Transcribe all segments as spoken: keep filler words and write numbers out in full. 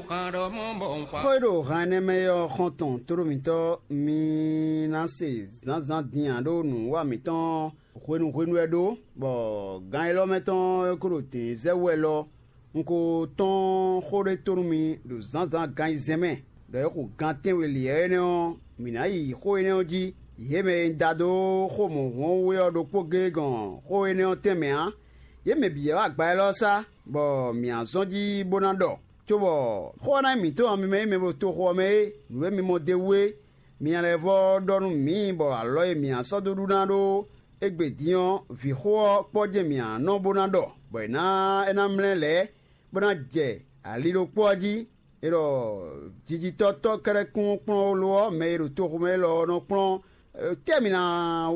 Xó e ɖo han énɛ́ mɛ é ɔ́, xɔ́ntɔn tóɖó mǐtɔn, mi ná se zǎnzǎn din ǎ ɖó nǔwiwa mǐtɔn hwenu hwenu wɛ ɖó, bɔ gan élɔ́ mɛ tɔn e ko ɖo dɛ̌n zɛ wú wɛ lɔ, un ko tɔ́n xó ɖé tó nú mi ɖo zǎnzǎn gan ayizɛ́n mɛ, ɖɔ é xo gan tɛ́nwe lǐɛ́ énɛ́ ɔ́, mǐ ná yi xó énɛ́ ɔ́ jí. Yě mɛ e un da dó xó mɔ̌hunhun ɔ́ wú é ɔ́ ɖokpó géé gɔn xó énɛ́ ɔ́ tɛnmɛ ǎ. Yě mɛ bǐ wɛ wá agba élɔ́ sá, bɔ mǐ ná zɔ́n jí bó ná ɖɔ, cóbɔ xó ɔ́ ná nyí mǐtɔn ɔ́, mi mɛ e mɛ ɖo toxo ɔ́ mɛ é, nǔ e mi mɔ d'é wú é, mi nya lɛ́ vɔ́ ɖɔ nú mǐ, bɔ alɔ e mǐ ná sɔ́ dó ɖu ná ɖó égbé din ɔ́, vǐxó ɔ́ kpɔ́ jɛ́n mǐ ná nɔ bó ná ɖɔ, bɔ è nǎ é ná mlɛ́ lɛ̌, bó ná jɛ ali ɖokpó ɔ́ jí. É ɖɔ jijitɔ́ tɔ́ kɛ́ɖɛ́ kún kplɔ́n lo ɔ́, mɛ e ɖo toxo mɛ élɔ́ ɔ́ nɔ kplɔ́n. Tɛ́ mǐ ná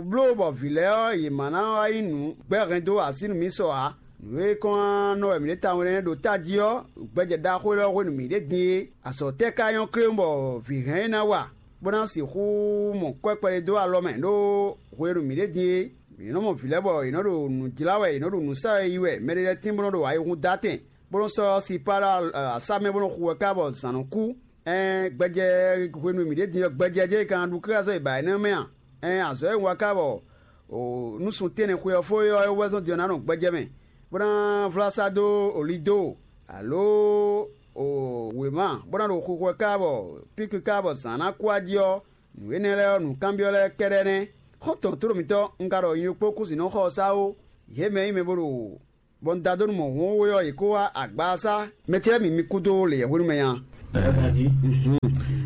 bló bɔ vǐ lɛ́ɛ ɔ́, yě ma ná wá nyí nǔ gbɛ́ hɛn dó así nú mǐ sɔ ǎ. Nǔ e kɔn nɔ wɛ mǐ ɖe tawun énɛ́ ɖo tají ɔ́, gbɛjɛ ɖaxó élɔ́ hwenu mǐ ɖe din é. Azɔ̌ tɛ́ ka nyɔ́ kléwún bɔ vǐ hɛn é ná wa, bó ná sixú mɔ kwɛ́ kpɛɖé dó alɔ mɛ ɖó hwenu mǐ ɖe din é? Mǐ nɔ mɔ vǐ lɛ́ɛ bɔ yě nɔ ɖo nǔ jlá wɛ, yě nɔ ɖo nǔ sa wɛ yi wɛ, mɛɖé lɛ́ɛ tín bó nɔ ɖo ayihún dó atɛn, bó nɔ́ sɔ́ sipá ɖó asá mɛ bó nɔ́ xu wɛ ká bɔ zǎn nɔ kú. Ɛn gbɛjɛ hwenu e mǐ ɖe din ɔ́, gbɛjɛ jɛ́n è ka ná ɖu káká sɔ́ yi ba énɛ́ mɛ a? Ɛn azɔ̌ e un wa ká bɔ nú sun tɛ́nnɛ xwe ɔ́ fó é ɔ́, é wɛ zɔ́n din ɔ́ ná nɔ gbɛjɛ mɛ, bó ná vlá sá dó oli dó, alo wěma, bó ná ɖo xixo ɛ ká bɔ píkwi ká bɔ zǎn ná kú a jí ɔ́, nǔ énɛ́ lɛ́ɛ ɔ́, nǔkanbyɔ́ lɛ́ɛ kɛ́ɖɛ́ nɛ́. Xɔ́ntɔn tló mǐtɔn, un ka ɖɔ nyi ɖokpó kú sin nɔ xɔ ɔ́ sá ó. Yě mɛ e nyí mɛ bó ɖo bɔ un da dó nú mɔ̌hunhun we ɔ́, yě kó wá agba ɔ́ sá. Mɛ ce lɛ́ɛ mi mi kúdó lě hwenu mɛ nya.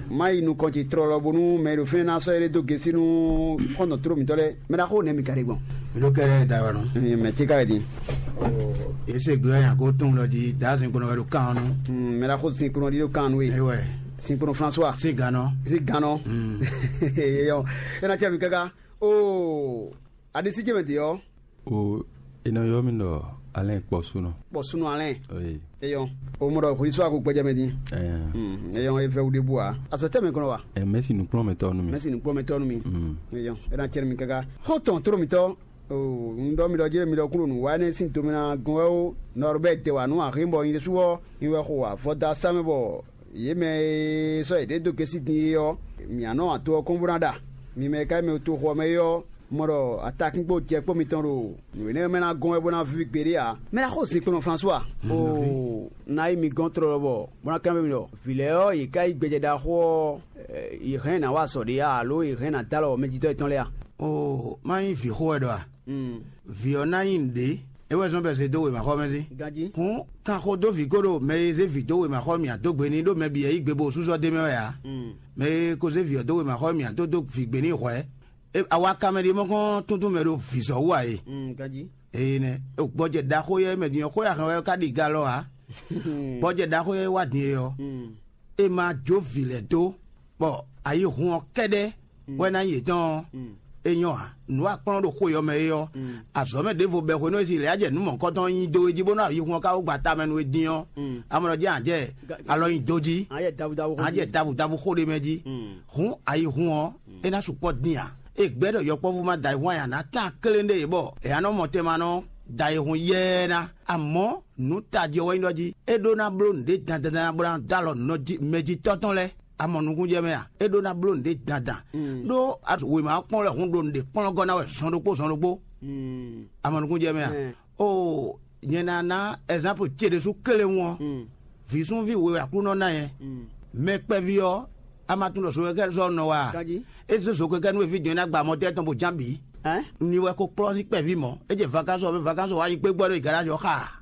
Má yi nukɔn ce tlɔlɔ bónú mɛ e ɖo fínɛ́ ná sɔ́ éɖée dó gěsí nú xɔ́ntɔn tló mǐtɔn lɛ́ɛ. Mɛ ɖaxó nɛ̌ mi ka ɖe gbɔn? Mi ɖó kɛ́ɖɛ́ da wɛ nɔ. Mɛ ce ka wɛ din? Yě se gbé ɔ́ nyi agó tɔn lɔ jí, dǎ zinkpo nɔ wɛ ɖo kan ɔ́ nú. Mɛ ɖaxó zinkpo nɔ ɖi ɖo kan nú we. Ewɛ. Zinkpo nɔ François. Sí gannɔ. Sí gannɔ. Eyɔ. É ná cɛ mi káká. Oo. Aɖisí ce mɛ din ɔ́. O, è nɔ ylɔ́ mì ɖɔ Alɛ́n Kpɔsúnɔ. Kpɔsúnɔ Alɛ́n. Oyi. Eyɔn. O mɔ ɖɔ hwesú ako gbɛjɛ mɛ din. Ɛɛ. Hmm, eyɔn e vɛ wu ɖe bu a. Azɔ tɛ mɛ kɔnɔ wa. Ɛ, mɛsi nukplɔ́nmɛtɔ́ nú mi. Mɛsi nukplɔ́mɛtɔ́ nú mi. Hmm. Eyɔn. E na cɛ mi kaka. Xɔ́ntɔn tló mitɔ. O, un ɖɔ mi ɖɔ jɛ mi ɖɔ kúrò nǔ wa énɛ́ sín domina gɔn wɛ ó. Nɔrɔ bɛ dɛ wa nú ahin bɔ nyi ɖésú ɔ. Nyi wɛ xo avɔ da sá mɛ bɔ yě mɛ e sɔ́ yěɖée dó gɛ́sí din é ɔ́, mǐ nɔ ato ɔ́ kɔn bó ná ɖa. Mi mɛ e ka nyí mɛ e to xo ɔ́ mɛ é ɔ́, mɔ ɖɔ atakínkpo jɛ kpó mitɔn ɖo nǔ énɛ́ mɛ ná gɔ́n wɛ bó ná víví gbeɖé ǎ. Mɛ ná xo zinkpo nɔ François. Oo, ná yi mi gɔ́n tlɔlɔ bɔ bó ná kanbyɔ́ mi ɖɔ vǐ lɛ́ɛ ɔ́, yě ká yí gbɛjɛ ɖaxó ɔ́, yě hɛn nǎ wa azɔ̌ ɖé a, alo yě hɛn nǎ dó alɔ mɛjitɔ́ yětɔn lɛ́ɛ a? Oo, má nyí vǐ xo wɛ ɖɔ a? Vǐ ɔ́ ná nyí nǔɖé, é wɛ zɔ́n bɔ è zé dó wěmaxɔ mɛ sín. Ganjí. Hǔn, kan xo dó vǐ kó ɖo mɛ e zé vǐ dó wěmaxɔ mì ǎ dó gbe n'i ɖó mɛ bǐ wɛ yí gbe bó súsɔ́ d'é mɛ wɛ ǎ. Mɛ e ko zé vǐ ɔ́ dó wěmaxɔ mì ǎ dó dó vǐ gbe n'i hwɛ̌. Awa ka mɛ ɖíe mɔ kɔn túntún mɛ ɖo vǐzɔ́ wú ǎ e. Ganjí. Eye nɛ́, gbɔjɛ ɖaxó yɛ mɛ din ɔ́, xó e a hɛn wɛ ká ɖi ga lɔ ǎ. Gbɔjɛ ɖaxó yɛ wá din e ɔ́, è ma jó vǐ lɛ́ɛ dó, bɔ ayihun ɔ́ kɛ́ɖɛ́ wɛ ná nyí yětɔn ɔ́, é nyɔ́ ǎ. Nǔ e a kplɔ́n ɖo xwe ɔ́ mɛ é ɔ́, azɔ̌ mɛ ɖěvo bɛ́ xwenu e si lɛ̌ jɛ nǔ mɔ̌hunkɔtɔn nyi dó é jí bó ná yi hun ɔ́ ká wú gba tamɛ nú é dín ɔ́, a mɔ ɖɔ jɛ́n a jɛ alɔ nyi dó jí, a jɛ davudavu xó a jɛ jí. Davudavu xó ɖé mɛ jí. Hǔn ayihun ɔ́, é ná sukpɔ́ dín ǎ. É gbɛ́ ɖɔ yɔkpɔ́vú ma da ayihun aya ná tán kléŋ ɖé yě bɔ è nǎ nɔ mɔ tɛn ma nɔ da ayihun yɛ́ɛ ná. Amɔ̌, nǔ tají ɔ́ wɛ nyí ɖɔ jí é ɖó ná bló nǔɖé dandan bó ná dó alɔ nɔjí mɛjitɔ́ tɔn lɛ́ɛ. A mɔ nukúnjɛ mɛ a? É ɖó ná bló nǔɖé dandan. Ɖó wěma ɔ́ kplɔ́n lɛ́ hun ɖo nǔɖé kplɔ́n gɔ́ ná wɛ zɔn ɖokpó zɔn ɖokpó. A mɔ nukúnjɛ mɛ a? Oo, nyɛ ná ná ɛzanpu ce ɖésú kélé ŋu ɔ́, vǐ súnví we wɛ Aklúnɔ ná nyɛ. Mɛ kpɛví ɔ́, a ma tunwun ɖɔ zokɛkɛ́ sɔ́ nɔ wa a? É zé zokɛkɛ́ nú eví jɔn e ná gba mɔtɛ́ tɔn bó ján bǐ. Ní wɛ ko kplɔ́ sín kpɛví mɔ̌. É jɛ vakánsɔ ɔ́, vakánsɔ ɔ́ wá nyi kpégbɔ ɖo igalási ɔ́ xa.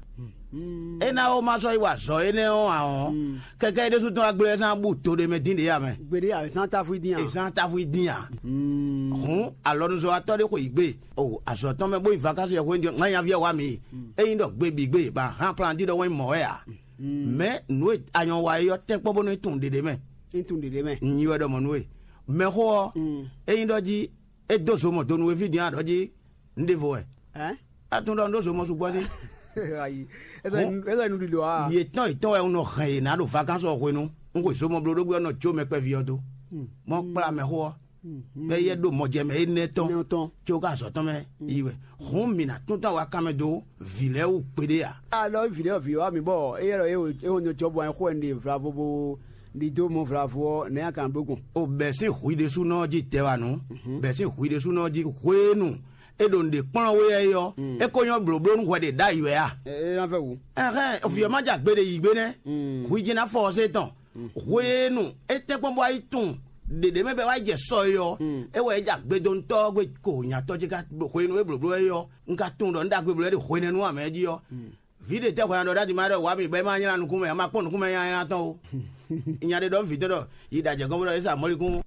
É ná ó má sɔ́ yi wa azɔ̌ énɛ́ ɔ́ ǎ ɔ́, kɛkɛ́ é ɖésú tɔn wá gblé ɛ sán bú do ɖé mɛ dín ɖě ǎ mɛ. Gbeɖé ǎ, è sán táfú dín ǎ. È sán táfú dín ǎ. Hǔn alɔnuzɔ́watɔ́ ɖé xo yǐ gbe. O azɔ̌ tɔn mɛ bó yi vakánsɔ yɛhweɖinjɔ ŋá nyaví ɔ́ wá mi. Ényí ɖɔ gbe bǐ gbe ba hán plan dín ɖɔ wɛn mɔ̌ wɛ ǎ. Mɛ̌ nǔ e anyɔ wa é ɔ́ tɛ́nkpɔ́n bónú é tunwun ɖěɖé mɛ. É tunwun ɖěɖé mɛ. Nyi wɛ ɖɔ mɔ̌ nú we. Mɛxó ɔ́, ényí ɖɔ jí é dó zo mɔ do nú we fí din a ɖɔ jí un ɖěvo wɛ. Ɛ? A tunwun ɖɔ un ɖó zo mɔ sukpɔ́ dín. Ayi. Ɛ sɔ nu ɖiɖɔ a? Yě tɔn yě tɔn wɛ un nɔ hɛn yě ná ɖo vakánsɔ hwenu. Un xwe zo mɔ blóɖógbé ɔ́ nɔ jó mɛ kpɛví ɔ́ dó. Mɔ kplá mɛxó ɔ́. Bɛ yɛ ɖo mɔjɛmɛ énɛ́ tɔn, tɔn. Tso ka azɔ tɔn mɛ yi wɛ. Hɔn mi na tún tɔn wa kanmɛ dó vǐ lɛ́ɛ wú kpeɖé a? Alɔ vǐ lɛ́ɛ vǐ wa mi bɔ é yɛ lɔ é wo é wo nyɔ jɔ bɔ ɛ xɔ ɛ ɖe vlavo bo ɖi dó mɔ vlavo ɔ nɛ a kan ɖó gbɔn. O bɛ sín hu ɖésúnɔ jí tɛ wa nǔ. Bɛ sín hu ɖésúnɔ jí hwenu é ɖo nǔɖé kplɔ́n wé yɛ ɔ́, é ko nyɔ́ blǒbló nú hwɛ ɖě ɖ'ayǐ wɛ a? É ná vɛ wǔ. Ɛhɛn, vǐ ɔ́ ma jɛ agbe ɖe yǐ gbe nɛ́. Hwi jí ná fɔ ɔ́ zé tɔn. Hwenu é tɛ́nkpɔ́n bɔ wá yi tunwun ɖěɖě mɛ bɔ é wá yi jɛ sɔ é ɔ́, é wɛ é jɛ agbedonutɔ́ ɔ́ gbe ko nyatɔ́ ce ka hwenu e blǒbló é ɔ́, un ka tunwun ɖɔ un ɖagbe bló é ɖe hwenɛ́nu ǎ mɛ jí ɔ́. Vǐ ɖě tɛ́ hwɛ ɔ́ ɖɔ ɖ'adǐ má ɖɔ wǎ mì bɔ é má nylá nukún mɛ ǎ, ma kpɔ́n nukún mɛ nylá tɔn o. Nya ɖé ɖɔ vǐ tɔn ɖɔ yi ɖajɛ gɔ́n bó ɖɔ é sa mɔ́likún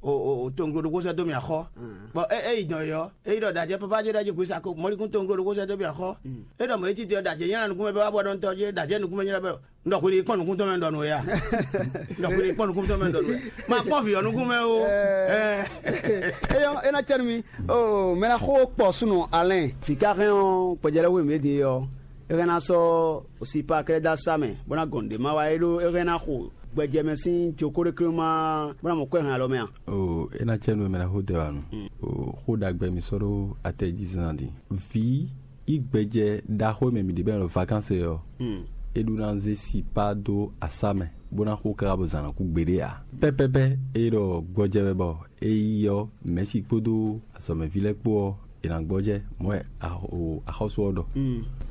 tonglo ɖokpó sɛ́ dó mì axɔ́. Bɔ é é yi dɔn é ɔ́, é yi ɖɔ ɖajɛ papa ce ɖɔ jí hwi sa mɔ́likún tonglo ɖokpó sɛ́ dó mì axɔ́. É ɖɔ mɔ̌ é titi ɔ́ ɖajɛ nylá nukún mɛ bɔ é wá bɔ ɖɔ ntɔ́ jí ɖajɛ nukún mɛ nylá bɔ ɖɔ xwili kpɔ́n nukúntɔ́ mɛ ɖɔ nú we a? Ɖɔ xwili kpɔ́n nukúntɔ́ mɛ ɖɔ nú we. Ma kpɔ́n vǐ ɔ́ nukún mɛ o. Eyɔ́ é ná cɛ́ nú mi. O mɛ ná xó kpɔ súnɔ alɛn. Fǐ ka hɛn ɔ́ gbɛjɛlɛ́ hwenu e din ɔ́, é hɛn ná sɔ́ sipa kɛ́ɖɛ́ dó asá mɛ bó ná gɔn nǔɖé má wá é ɖó é hɛn ná xo gbɛjɛ mɛ sín jokóɖéklé má bó ná mɔ kwɛ́ hɛn alɔ mɛ a? O é ná cɛ́ nú we mɛ ná xó dɛ wá nu. O xó ɖagbe mi sɔ́ ɖó atɛ jí zán din. Vǐ yi gbɛjɛ ɖaxó e mɛ mǐ ɖe bɔ è nɔ ɖɔ vakansi é ɔ́, é ɖó ná zé sipa dó asá mɛ, bó ná xo káká bɔ zǎn ná kú gbeɖé ǎ. Pɛ́pɛ́pɛ́ é ɖɔ gbɔjɛ́ wɛ bɔ é yi ɔ́, mɛ̌si kpódó azɔ̌mɛví lɛ́ɛ kpó ɔ́, è nǎ gbɔjɛ́ mɔ̌ wɛ axɔ́sú ɔ́ ɖɔ.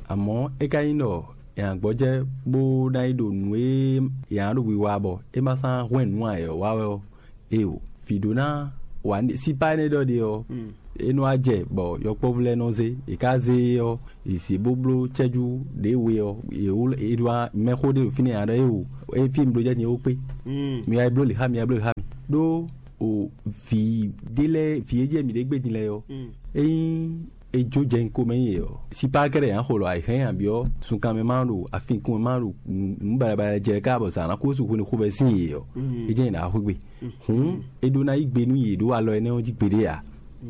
Amɔ̌ é ka nyí ɖɔ è nǎ gbɔjɛ́ bó ná yi ɖo nǔ e è nǎ ɖo wiwa bɔ é ma sán hwɛ́n nǔ ǎ é ɔ́ wa wɛ ɔ́, Eo, vǐ ɖó ná wa sipa énɛ́ ɖɔ ɖe ɔ́, é nɔ wá jɛ bɔ yɔkpɔ́vú lɛ́ɛ nɔ zé; è ka zé e ɔ́, è zě bó bló cɛ́jú ɖě we ɔ́, è wló è ɖó mɛxó ɖé ɖo fínɛ́ ǎ ɖɔ éwo, é fí mi ɖó jɛ din é wó kpé. Mi wá yi bló lě xá mi, wá yi bló lě xá mi. Ɖó o vǐ ɖé lɛ́ɛ vǐ e jɛ mǐ ɖě gbe din lɛ́ɛ ɔ́, ényí è jó jɛ nyi komɛ nyi yě ɔ́, sipa kɛ́ɖɛ́ ǎ xo lɔ ayǐhɛ́n ǎ byɔ́ sunkan mɛ ma ɖo afinkun mɛ ma ɖo nǔ baɖabaɖa jɛ ká bɔ zǎn ná kó sú hwenu xovɛ́ sín yě ɔ́, é jɛ́n yě ná wá xwé gbe. Hǔn é ɖó ná yí gbe nú yě ɖó alɔ énɛ́ ɔ́ jí gbeɖé ǎ.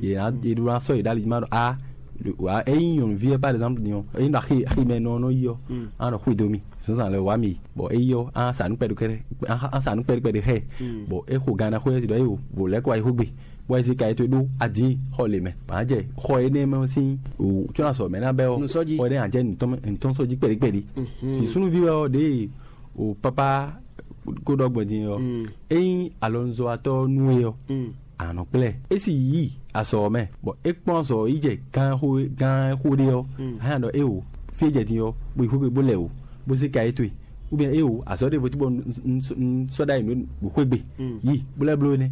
Yě ná é ɖó ná sɔ́ yě ɖó ali jí ma ɖɔ a ényí nyɔ̌nuví ɔ́ par exemple din ɔ́, ényí ɖɔ axi aximɛ nɔ ɔ́ nɔ yi ɔ́, á nɔ xwedó mì zǎnzǎn lɛ́ɛ wá mì yi, bɔ é yi ɔ́, á sa nǔ kpɛɖé kɛ́ɖɛ́ á sa nǔ kpɛɖé kpɛɖé xɛ, bɔ é xo gan ná xwé ɔ́ jí ɖɔ é o bɔ lɛ̌ kɔ wá yi xwé gbe, bɔ é zé ka yi towe ɖó adǐ xɔ lě mɛ. Bǎ jɛ xɔ énɛ́ mɛ ɔ́ sín wǔ có ná sɔ mɛ̌ ná bɛ́ ɔ́, Nǔsɔ́jí. Xɔ énɛ́ ná jɛ nǔtɔ́n mɛ- nǔtɔ́n sɔ́ jí kpɛɖí kpɛɖí. Vǐ súnnuví wɛ ɔ́ ɖěe o pápá kó ɖɔ gbɔn din ɔ́, ényí alɔnuzɔ́watɔ́ nú we ɔ́, a nɔ kplá ɛ. É sì yí azɔ̌ ɔ́ mɛ, bɔ é kplɔ́n azɔ̌ ɔ́ yi jɛ gán xó gán xó ɖé ɔ́, a nǎ ɖɔ éwo, fí e jɛ din ɔ́, bó yi xwé gbe bó lɛ wǔ, bó zé ka yě towe, ou bien éwo, azɔ̌ ɖěvo tí bɔ un sɔ́ ɖ'ayǐ nú ɖo xwé gbe, yi bó lɛ́ bló énɛ́.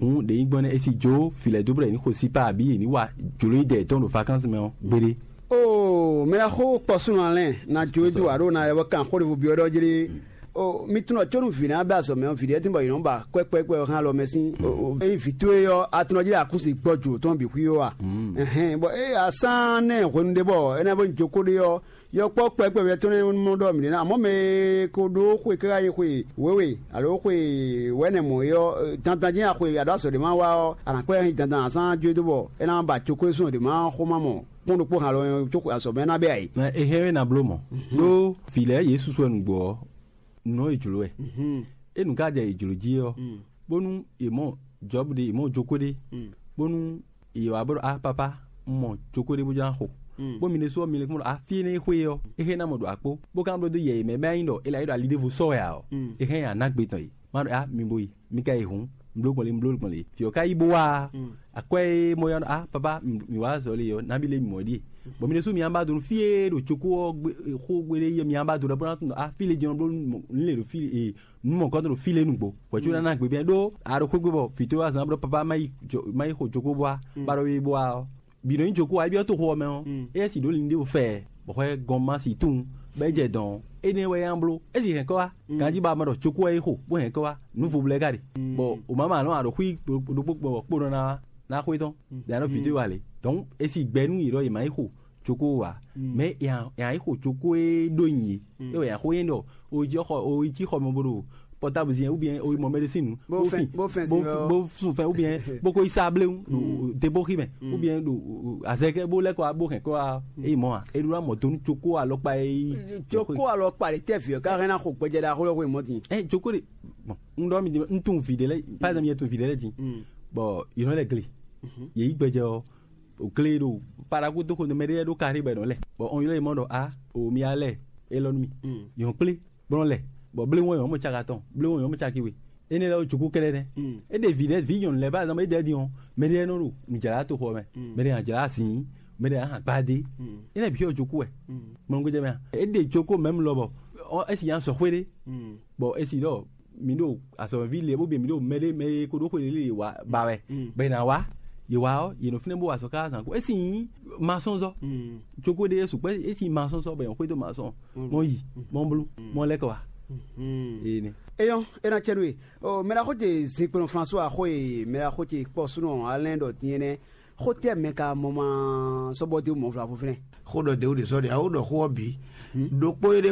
Hǔn ɖě nyí gbɔn nɛ́ é sì jó vǐ lɛ́ɛ dó bó ɖɔ yě ní xo sípá abǐ yě ní wa jlǒ yi dɛ yětɔn ɖo vakánsi mɛ ɔ́ gbeɖé. Oo, mɛ ná xó kpɔ súnɔ alɛn ná jó e dó aɖó ná lɛ bɔ kan xó ɖěvo byɔ́ ɖɔ jlé. O mi tunɔ có nú vǐ ná bɛ azɔ mɛ ɔ́, vǐ ɖé tún bɔ yě nɔ ba kwɛ́kwɛ́kwɛ́ ɔ́ hán alɔ mɛ sín. Ényí vǐ towe ɔ́, a tunɔ jí akúsi gbɔ jǒ tɔn bǐ xwí ó a? Ɛhɛn, bɔ é asán nɛ́ hwenu ɖé bɔ é ná bɔ nyi jókó ɖé ɔ́, yɔkpɔ́ kpɛkpɛvɛ tɔn nɛ́ mɔ ɖɔ mǐ ɖé ná. Amɔ̌ mɛ e ko ɖó xwe káká nyi xwe wěwe alo xwe wɛ̌nɛ mɔ̌ é ɔ́, dandan jɛ́n axwe aɖó azɔ̌ ɖé má wa ɔ́, a nǎ kplá ɛ nyi dandan asán jó dó bɔ é ná ba jókó e súnɔ ɖě má xó má mɔ kpɔ́n ɖokpó hǎn lɔ ɔ́, có azɔ̌ mɛ ná bɛ ayǐ. Mɛ è hɛn we ná bló mɔ̌. Ɖó vǐ lɛ́ɛ yě susu wɛ nǔgbó ɔ́, nǔ e jlǒ wɛ. É nǔ ka jɛ yě jlǒ jí ɔ́, bónú yě mɔ Jɔ̌bu ɖé, yě mɔ jókó ɖé, bónú yě wá bó ɖɔ á papá, un mɔ jókó ɖé bó jló ná xo. Bó mi ɖésú ɔ́, mi lɛ́ kún ɖɔ á fí énɛ́ e xwé é ɔ́, é hɛn ná mɔ ɖo akpó, bó ka nɔ bló dó yɛ yě mɛ bɔ é nyí ɖɔ é la yi ɖɔ ali ɖěvo sɔ́ wɛ ǎ ɔ́, é hɛn nyi aná gbe tɔn yě. Má ɖɔ á mi bo yi, mi ka yi hǔn, un bló gbɔn lě, un bló gbɔn lě. Vǐ ɔ́ ka yi bó wá a? Akwɛ́ e mɔ yá nɔ á papá, mǐ wá zɔ le ɔ́, nabí lé mǐ mɔ ɖíe. Bɔ mi ɖésú mi ǎ ba do nú fí e ɖo cokó ɔ́ xó gbe ɖé yɛ mi ǎ ba do ɖɔ bó ná tunɔ á fí le jɛ́n bló nú lě ɖo fí e nǔ mɔ̌kɔ́tɔn ɖo fí le nǔgbó. Hwɛ̌ có ná ná gbe bɛ́ ɖó a ɖo xwé gbe bɔ vǐ towe wá zán bló papá má yi má yi xo cokó bó wá, bá ɖɔ wé bó wá ɔ́. Bǐ nɔ nyí jokó ǎ, é byɔ́ toxo ɔ́ mɛ ɔ́, éyɛ́ sì ɖǒ linɖévo fɛ, bɔ hwɛ gɔn ma si tunwun, bɔ é jɛ dɔn ɔ́, énɛ́ wɛ é ná bló. É sì hɛn kɔ́ wá, ganjí ba ma ɖɔ cokó wɛ é xo, bó hɛn kɔ́ wá, nǔ vo blɛ́ ka ɖe. Bɔ o ma ma nɔ aɖo xwí ɖokpó gbɔ kpó nɔ ná ná xwé tɔn, ɖe anɔ vǐ towe wá lě. Donc é sì gbɛ nú yě ɖɔ yě ma yi xo cokó wá, mɛ è ná yi xo cokó e ɖó nyi yě, é wɛ è nǎ xo nyɛ ɖɔ o jí xɔ o yi cí xɔ mɛ bo ɖo portable zin ou bien o yi mɔ médecine nu, Bo bo fɛn- fin- bo fɛn bo- sin lɔ. Bo sun fɛn ou bien bo ko yi sa bléwu ɖo deboxi mɛ, ou bien ɖo azɛkɛ bo lɛ kɔ bo hɛn kɔ wa eyi mɔ a e ɖo la mɔ donu coko alɔkpa e yi Joko alɔ kpa ɖe tɛ viɔ ka hɛn na xɔ gbɛjɛ ɖe axo lɔ xo mɔ din. Ɛ joko de. Bon, n ɖɔ mi di n tun vi ɖe lɛ par exemple yɛ tun vi ɖe lɛ din. bɔ yě nɔ lɛ gle. Yě yi gbɛjɛ ɔ́, o gle ɖo paraku dó xo nú mɛ ɖé lɛ́ɛ ɖó karí bɔ è nɔ lɛ, bɔ ɔn ylɔ́ yě mɔ ɖɔ a o mi ya lɛ élɔ́ nú mì. Yě nɔ kplé bɔ nɔ lɛ, bɔ blé wɔn yɔn mɔ caka tɔn, blé wɔn yɔn mɔ caki we. Énɛ́ lɛ́ɛ wó jukú kɛ́ɖɛ́ nɛ́. É ɖe vǐ ɖɛ́ vǐ nyɔ̌nu lɛ́ɛ bá zɔn bɔ é ɖɛ́ din ɔ́, mɛ ɖé nɔ ɖo nǔjlá toxo ɔ́ mɛ, mɛ ɖé nɔ jlá azǐn, mɛ ɖé nɔ hǎn gbadé. Énɛ́ bǐ ɔ́ jukú wɛ. Mɔnɔgbɛjɛ mɛ a? É ɖe joko mɛ̌m lɔ bɔ ɔ́ é si nyi azɔ̌xwé ɖé, bɔ é si ɖɔ mǐ ɖo azɔ̌mɛví lě bó byɔ́ mǐ ɖo mɛ ɖé mɛ e ko ɖó xwe lě lě wa ba wɛ, bɔ è nǎ wá. Yě wá ɔ́, yě nɔ fínɛ́ bó wa azɔ̌ káká zǎn kú. É si nyí masɔ́nzɔ́. Joko ɖé é sukpɔ́ é si nyí masɔ́nzɔ́ bɔ è nɔ xwedó masɔ́n. Mɔ yi, mɔ blú, mɔ lɛ́ kɔ wá. Ee nɛ. Eyɔn, é ná cɛ nú we. Mɛ ɖaxó ce zinkplɔn François xó e mɛ ɖaxó ce kpɔ súnɔ alɛn ɖɔ din énɛ́. Xó tɛ́ mɛ ka mɔ ma sɔ́ bɔ dó mɔ vlavo fínɛ́? Xó ɖɔ dě wú ɖě sɔ́ ɖě a ó ɖɔ xó ɔ́ bǐ. Ɖokpó e ɖé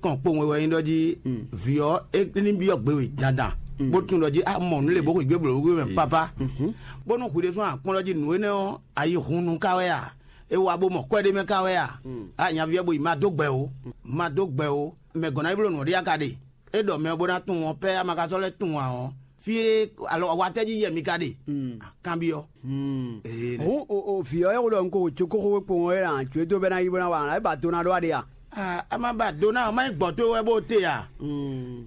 kɔn kpowun wɛ wɛ nyí ɖɔ jí vǐ ɔ́ é ní byɔ́ gbe we dandan, bó tunwun ɖɔ jí a mɔ nǔ lě bó xweyǐgbe blǒ wú mɛ pápá. Bónú hwi ɖésú a kpɔ́n ɖɔ jí nǔ énɛ́ ɔ́, a yi hun nu ká wɛ a? É wá bó mɔ kwɛ́ ɖé mɛ ká wɛ a? A nyaví ɔ́ bo yi ma dó gbɛ o, ma dó gbɛ o. Mɛ gɔ̌n ná yi bló nǔ ɔ́ ɖé a ka ɖe? É ɖɔ mɛ ɔ́ bó ná tunwun ɔ́, pɛ́ a ma ka sɔ́ lɛ́ tunwun ǎ ɔ́, fí e alɔ watɛ́ jí yɛ mi ka ɖe? Kanbyɔ́. Hǔn o vǐ ɔ́ e xo ɖɔ un ko wǒ có xóxó kpowun ɔ́ é ná jǒ dó bɛ́ ná yi bó ná wa ǎ, é ba do ná ɖó aɖe a? A ma ba do ná ɔ́, má nyí gbɔ̌ towe wɛ bó te a?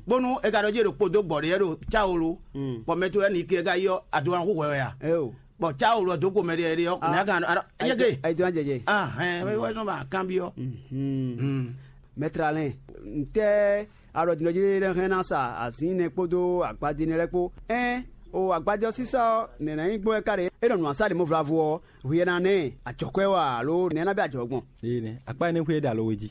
Bónú è ka ɖɔ jí è ɖo kpo dó gbɔ̌ ɖé wɛ ɖo cáwolu, bɔ mɛ towe wɛ ní ke ká yi ɔ́, a do ná xú hwɛ wɛ a? Eo. Bɔ cáwolu ɔ́ dó kpo mɛ ɖé ɖé ɔ́, nɛ̌ a ka ɖɔ? Yɛ́gɛ. Ayi tó ná jɛ jɛ. Ahɛn, é wɛ sɔ́ ba kanbyɔ́. Mɛtralɛn, ntɛ́ alɔdinɔjí ɖé hɛn ná sa azǐn nɛ kpódó agbadé nɛ lɛ́ɛ kpó. Ɛn, o agbadé ɔ́ sísá ɔ́, nɛ̌ ná nyí gbɔn wɛ ká ɖe? É nɔ nǔ asá ɖě mɔ vlavo ɔ́, hwi ɛ ná nɛ ɛ, ajɔ̌kwɛ́ wɛ a, alo nɛ̌ ná bɛ́ ajɔ̌ gbɔn? Ee nɛ, akpá énɛ́ xwé é ɖo alo we jí.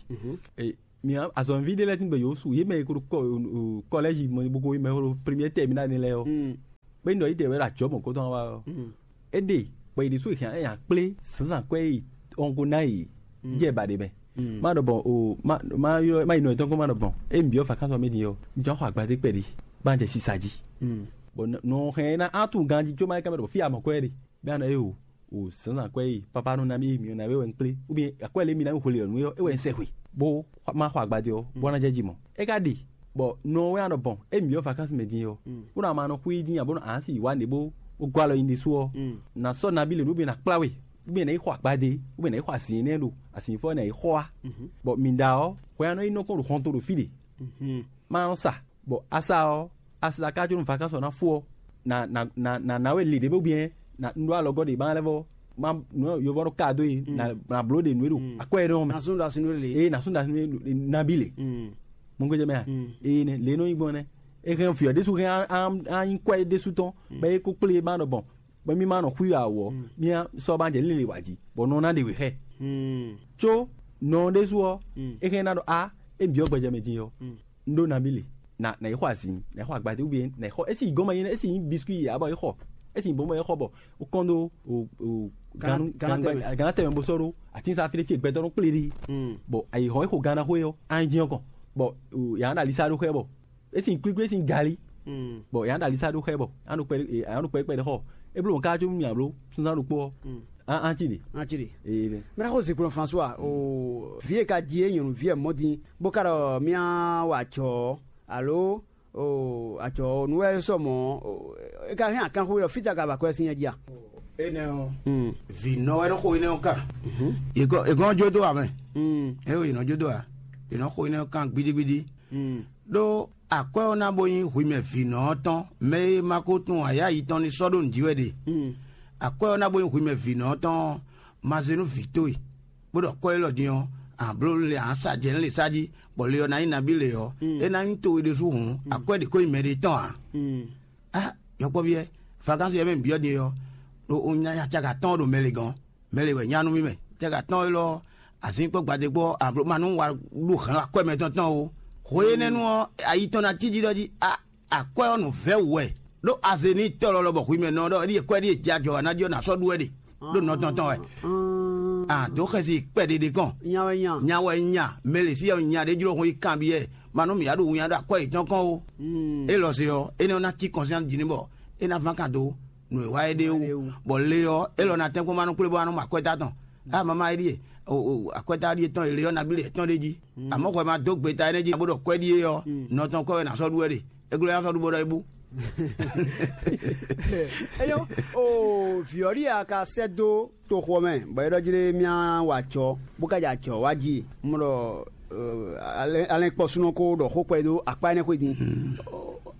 Ee, mi azɔ̌mɛví ɖé lɛ́ɛ tín gbɛ yǒsu, yě mɛ e ko ɖo kɔ- o- o- kɔlɛ́zi mɔ bó ko mɛ ko ɖo première terminale nɛ́ lɛ́ɛ ɔ́, bó nyí ɖɔ yě ɖe wɛ ɖo ajɔ̌ mɔ̌kɔtɔn wa ɔ́, é ɖe bɔ yě ɖésú è hɛn ɛ nyi akplé zǎnzǎn kwɛ́ e ɔngo ná yě jɛ ba ɖě mɛ. Má ɖɔ bɔn o má má ylɔ́ má yi nɔ yětɔn kɔn má ɖɔ bɔn é nǐ byɔ́ vacances ɔ́ mɛ din ɔ́, un jɔ xɔ agbadé kpɛɖé bá un jɛ sisa jí. Bɔn nɔ hɛn ɛ ná á tunwun ganjí có má é ká mɛ ɖɔ bɔ fí a mɔ kwɛ́ ɖe. Bɛ́ a nɔ é o o zǎnzǎn kwɛ́ e pápá nɔ ná mì mǐ ɔ́ ná wɛ wɛ un kplé, ou bien akwɛ́ lě mi ná mi hwelě ɔ́ nú é wɛ un sɛ hwe, bó má xɔ agbadé ɔ́, bó ná jɛ jí mɔ. É ka ɖe bɔ nɔ wɛ a nɔ bɔn é mǐ ɔ́ vakansi mɛ din ɔ́, bó ná ma nɔ xwí dín abo nɔ ǎ si wǎ nɖě bó bó gɔ́ alɔ nyi ɖésú ɔ́, nǎ sɔ́ nabí lě nú bí ná kplá we, ou bien ná yi xɔ agbadé, ou bien ná yi xɔ azǐn énɛ́ ɖo azǐnfɔ́ ná yi xɔ wá. Bɔ mǐ ɖa ɔ́, hwɛ ɔ́ nɔ yi nɔ kpɔ́n ɖo xɔnto ɖo fí ɖe. Má nɔ sa, bɔ asa ɔ́, asa ka có nú vakansi ɔ́ ná fó ɔ́, nǎ nǎ nǎ nǎ we lě ɖě bó biɛ́, nǎ un ɖó alɔgɔ́ ɖě ma lɛ́ vɔ, má nǔ e yovɔ nɔ ka dó e, nǎ nǎ bló ɖe nǔ e ɖo akwɛ́ énɛ́ ɔ́ mɛ. Nasún ɖo asin nú lě. Eye nǎ sún ɖo asin nú nabi lě. Mɔgbɛjɛ mɛ a? Eye nɛ lě nɔ nyí gbɔn nɛ́. É hɛn fyɔ ɖésú hɛn á nyí kwɛ́ ɖésú tɔn, bɔ é kó kplé ma ɖɔ bɔn, bɔ mì ma nɔ xwí awɔ, mì sɔ́ ma jɛ líle wǎ jí, bɔ nɔ ná ɖe wě xɛ. Có nɔ ɖésú ɔ́, é hɛn ná ɖɔ a, é bǐ ɔ́ gbɛjɛ mɛ din ɔ́, un ɖó nabí le, nà nà yi xɔ azǐn, nà yi xɔ agbadé, ou bien nà yi xɔ, esi yi gɔ́n ma nyí, esi nyí biscuit yě abɔ yi xɔ, esi nyí bɔn bɔ yi xɔ bɔ ó kɔn dó o o Gana- ganu Gana ganu tɛmɛ. Gana tɛmɛ bó sɔ́ ɖó atínsá fí ɖé fí e gbɛtɔ́ nɔ kplé ɖi. Bɔ ayi hɔn é xo gana xó é ɔ́, an dín ɔkɔn, bɔ yǎ ɖo alisa ɖó xɛ bɔ esi nyí kwíkwí, esi nyí gali. Bɔ yǎ ɖo alisa ɖó xɛ bɔ an ɖo kpɛ an ɖo kpɛ kpɛ ɖe xɔ, é bló ká có mì abló sunzán ɖokpó ɔ́, an an ti ɖe. An ti ɖe. Ee ɖe. Mira xo zikplɔn François o vi e ka ji e nyɔnu vi e mɔ din bó ka ɖɔ mía wa jɔ alo o ajɔ nu wɛ sɔ mɔ e ka hɛn akan xo ɖɔ fita ka ba kɔ sin nya ji a? Enɛ ɔ, vi nɔ wɛ nɔ xo enɛ ɔ kan. Egɔn jo do amɛ. E o yi nɔ jo do a, yi nɔ xo enɛ ɔ kan gbidigbidi. Ɖó akwɛ́ ɔ́ ná bó nyí hwimɛ vǐnɔ ɔ́ tɔn, mɛ e ma ko tunwun ayǎ yitɔn ní sɔ́ ɖó nǔ jí wɛ ɖe. Akwɛ́ ɔ́ ná bó nyí hwimɛ vǐnɔ ɔ́ tɔn ɔ́, ma zé nú vǐ towe, bó ɖɔ kɔ́ élɔ́ din ɔ́, a bló le ǎ sa jɛ nǔ le sá jí, bɔ le ɔ́ ná nyí nabí le ɔ́, é ná nyí towe ɖésú hǔn, akwɛ́ ɖě ko nyí mɛɖé tɔn ǎ. Á, yɔkpɔ́ví ɛ, vakansi ɛ mɛ mǐ byɔ́ din ɔ́, ɖo un nya caka tɔn ɖo mɛ le gɔ́n. Mɛ le wɛ nya nú mì mɛ. Cɛ́gǎtɔ́ élɔ́, azǐnkpɔ́ gbadégbɔ́ ablomanu wa ɖo hɛ̌n akwɛ́ mɛtɔn tɔn o. Hwe énɛ́ nu ɔ́, ayi tɔn ná cí jí ɖɔ jí a akwɛ́ ɔ́ nǔ vɛ́ wǔ wɛ. Ɖó aze ní tɔ́ lɔlɔ bɔ hwi mɛ nɔ ɖɔ ɖíe kwɛ́ ɖíe jɛ ajɔ wa ná jɔ ná sɔ́ ɖu wɛ ɖe ɖó nɔ tɔn tɔn wɛ. A dǒ xɛsi kpɛɖeɖe kɔn. Nya wɛ nya. Nya wɛ nya. Mɛ le sí ɔ́ nya ɖé jló hun yi kanbyɔ́ ɛ. Ma nú mǐ ya ɖo winnyá ɖo akwɛ́ yětɔn kɔn o. Élɔ́ se ɔ́, énɛ́ ɔ́ ná cí kɔnsyɛ́n jí ní bɔ é ná ván kan dó nǔ e wa é ɖe wú. Bɔ le ɔ́, élɔ́ ná tɛ́nkpɔ́n ma nɔ kplé bɔ a nɔ mɔ akwɛ́ta tɔn. A mama é ɖíe, akwɛ́ta ɖíe tɔn e le ɔ́ nabí le tɔn ɖé jí. Amɔ̌ hwɛ ma dó gbeta énɛ́ jí bó ɖɔ kwɛ́ ɖíe ɔ́, nɔ tɔn kwɛ́ wɛ ná sɔ́ ɖu wɛ ɖe. É glɔ́ ná sɔ́ ɖu bó ɖɔ é bú. Eyo, o vǐ ɔ́ ɖíe a ka sɛ́ dó toxo ɔ́ mɛ, bɔ é ɖɔ jí ɖé mía wa acɔ́, bó ka jɛ acɔ́ wá jí. Un ɖɔ alɛnkpɔ́súnɔ ko ɖɔ xó kpɛɖé dó akpá énɛ́ xwé din.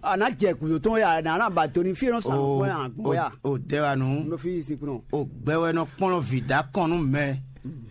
A nǎ jɛ gǔdo tɔn ya, a nǎ ba do n'i fí e nɔ sa nǔkpɔ́n ɛ agbɔn ya. O dɛ wa nu. Un ɖo fí sin kplɔ́n. O gbɛ wɛ nɔ kplɔ́n vǐ dó akɔn nú mɛ.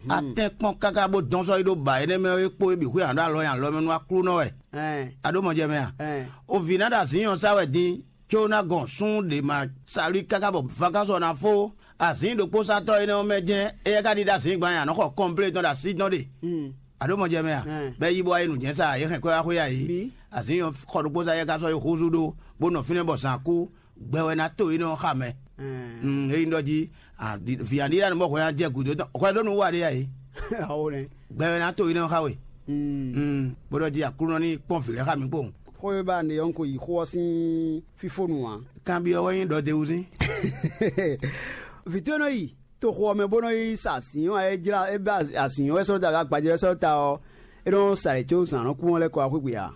A tɛ́n kpɔ́n káká bó dɔn sɔ́ yi ɖó ba énɛ́ mɛ é kpó é bǐ xwé aɖó alɔ nyi alɔ mɛ nú Aklúnɔ wɛ. Ɛn, A ɖó mɔ jɛ mɛ a? Ɛn. O vǐ ná ɖo azǐn nyɔ̌ sa wɛ din, có ná gɔn sún ɖě ma salú káká bɔ vakánsɔ ná fó. Azǐn ɖokpósatɔ́ énɛ́ ɔ́ mɛ jɛ́n éyɛ́ ka ɖi ɖó azǐn gban nyi a nɔ xɔ kɔnplé tɔn ɖo así tɔn ɖe. Hmm. A ɖó mɔ jɛ mɛ a? Ɛn. Bɛ́ yí bó wá yi nǔ jɛ́n sa a, yě hɛn kwɛ́ wá xwé a yě. Bi. Azǐn nyɔ̌ xɔ ɖokpósa éyɛ́ ka sɔ́ yi húzú ɖó, bó nɔ fínɛ́ bɔ zǎn kú. Gbɛ wɛ ná to énɛ́ ɔ́ xa mɛ. Ɛn. Hmm, é nyí ɖɔ jí, a, di- vǐ aɖíɖá nɔ bɔ hwɛ ná jɛ gǔdo tɔn hwɛ ɖó nú wa ɖé a yě. Awo nɛ. Gbɛ wɛ ná to énɛ́ ɔ́ xa we. Hmm. Hmm, bó ɖɔ jí Aklúnɔ ní kpɔ́n vǐ lɛ́ɛ xa mǐ kpowun. Xó e ba nɛ ɔ́ ko yi xó ɔ́ sín fífónu ǎ. Kanbyɔ́ wɛ nyí ɖɔ d'é wú sín. Vǐ towe nɔ yi toxo ɔ́ mɛ bó nɔ yi sa azǐn ɔ́, é jlá é bɛ́ azǐn ɔ́ wɛ sɔ́ ta, agbajɛ wɛ sɔ́ ta ɔ́, é nɔ sa yě có zǎn nɔ kú ɔ́ lɛ́ kɔ wá xwé gbe ǎ.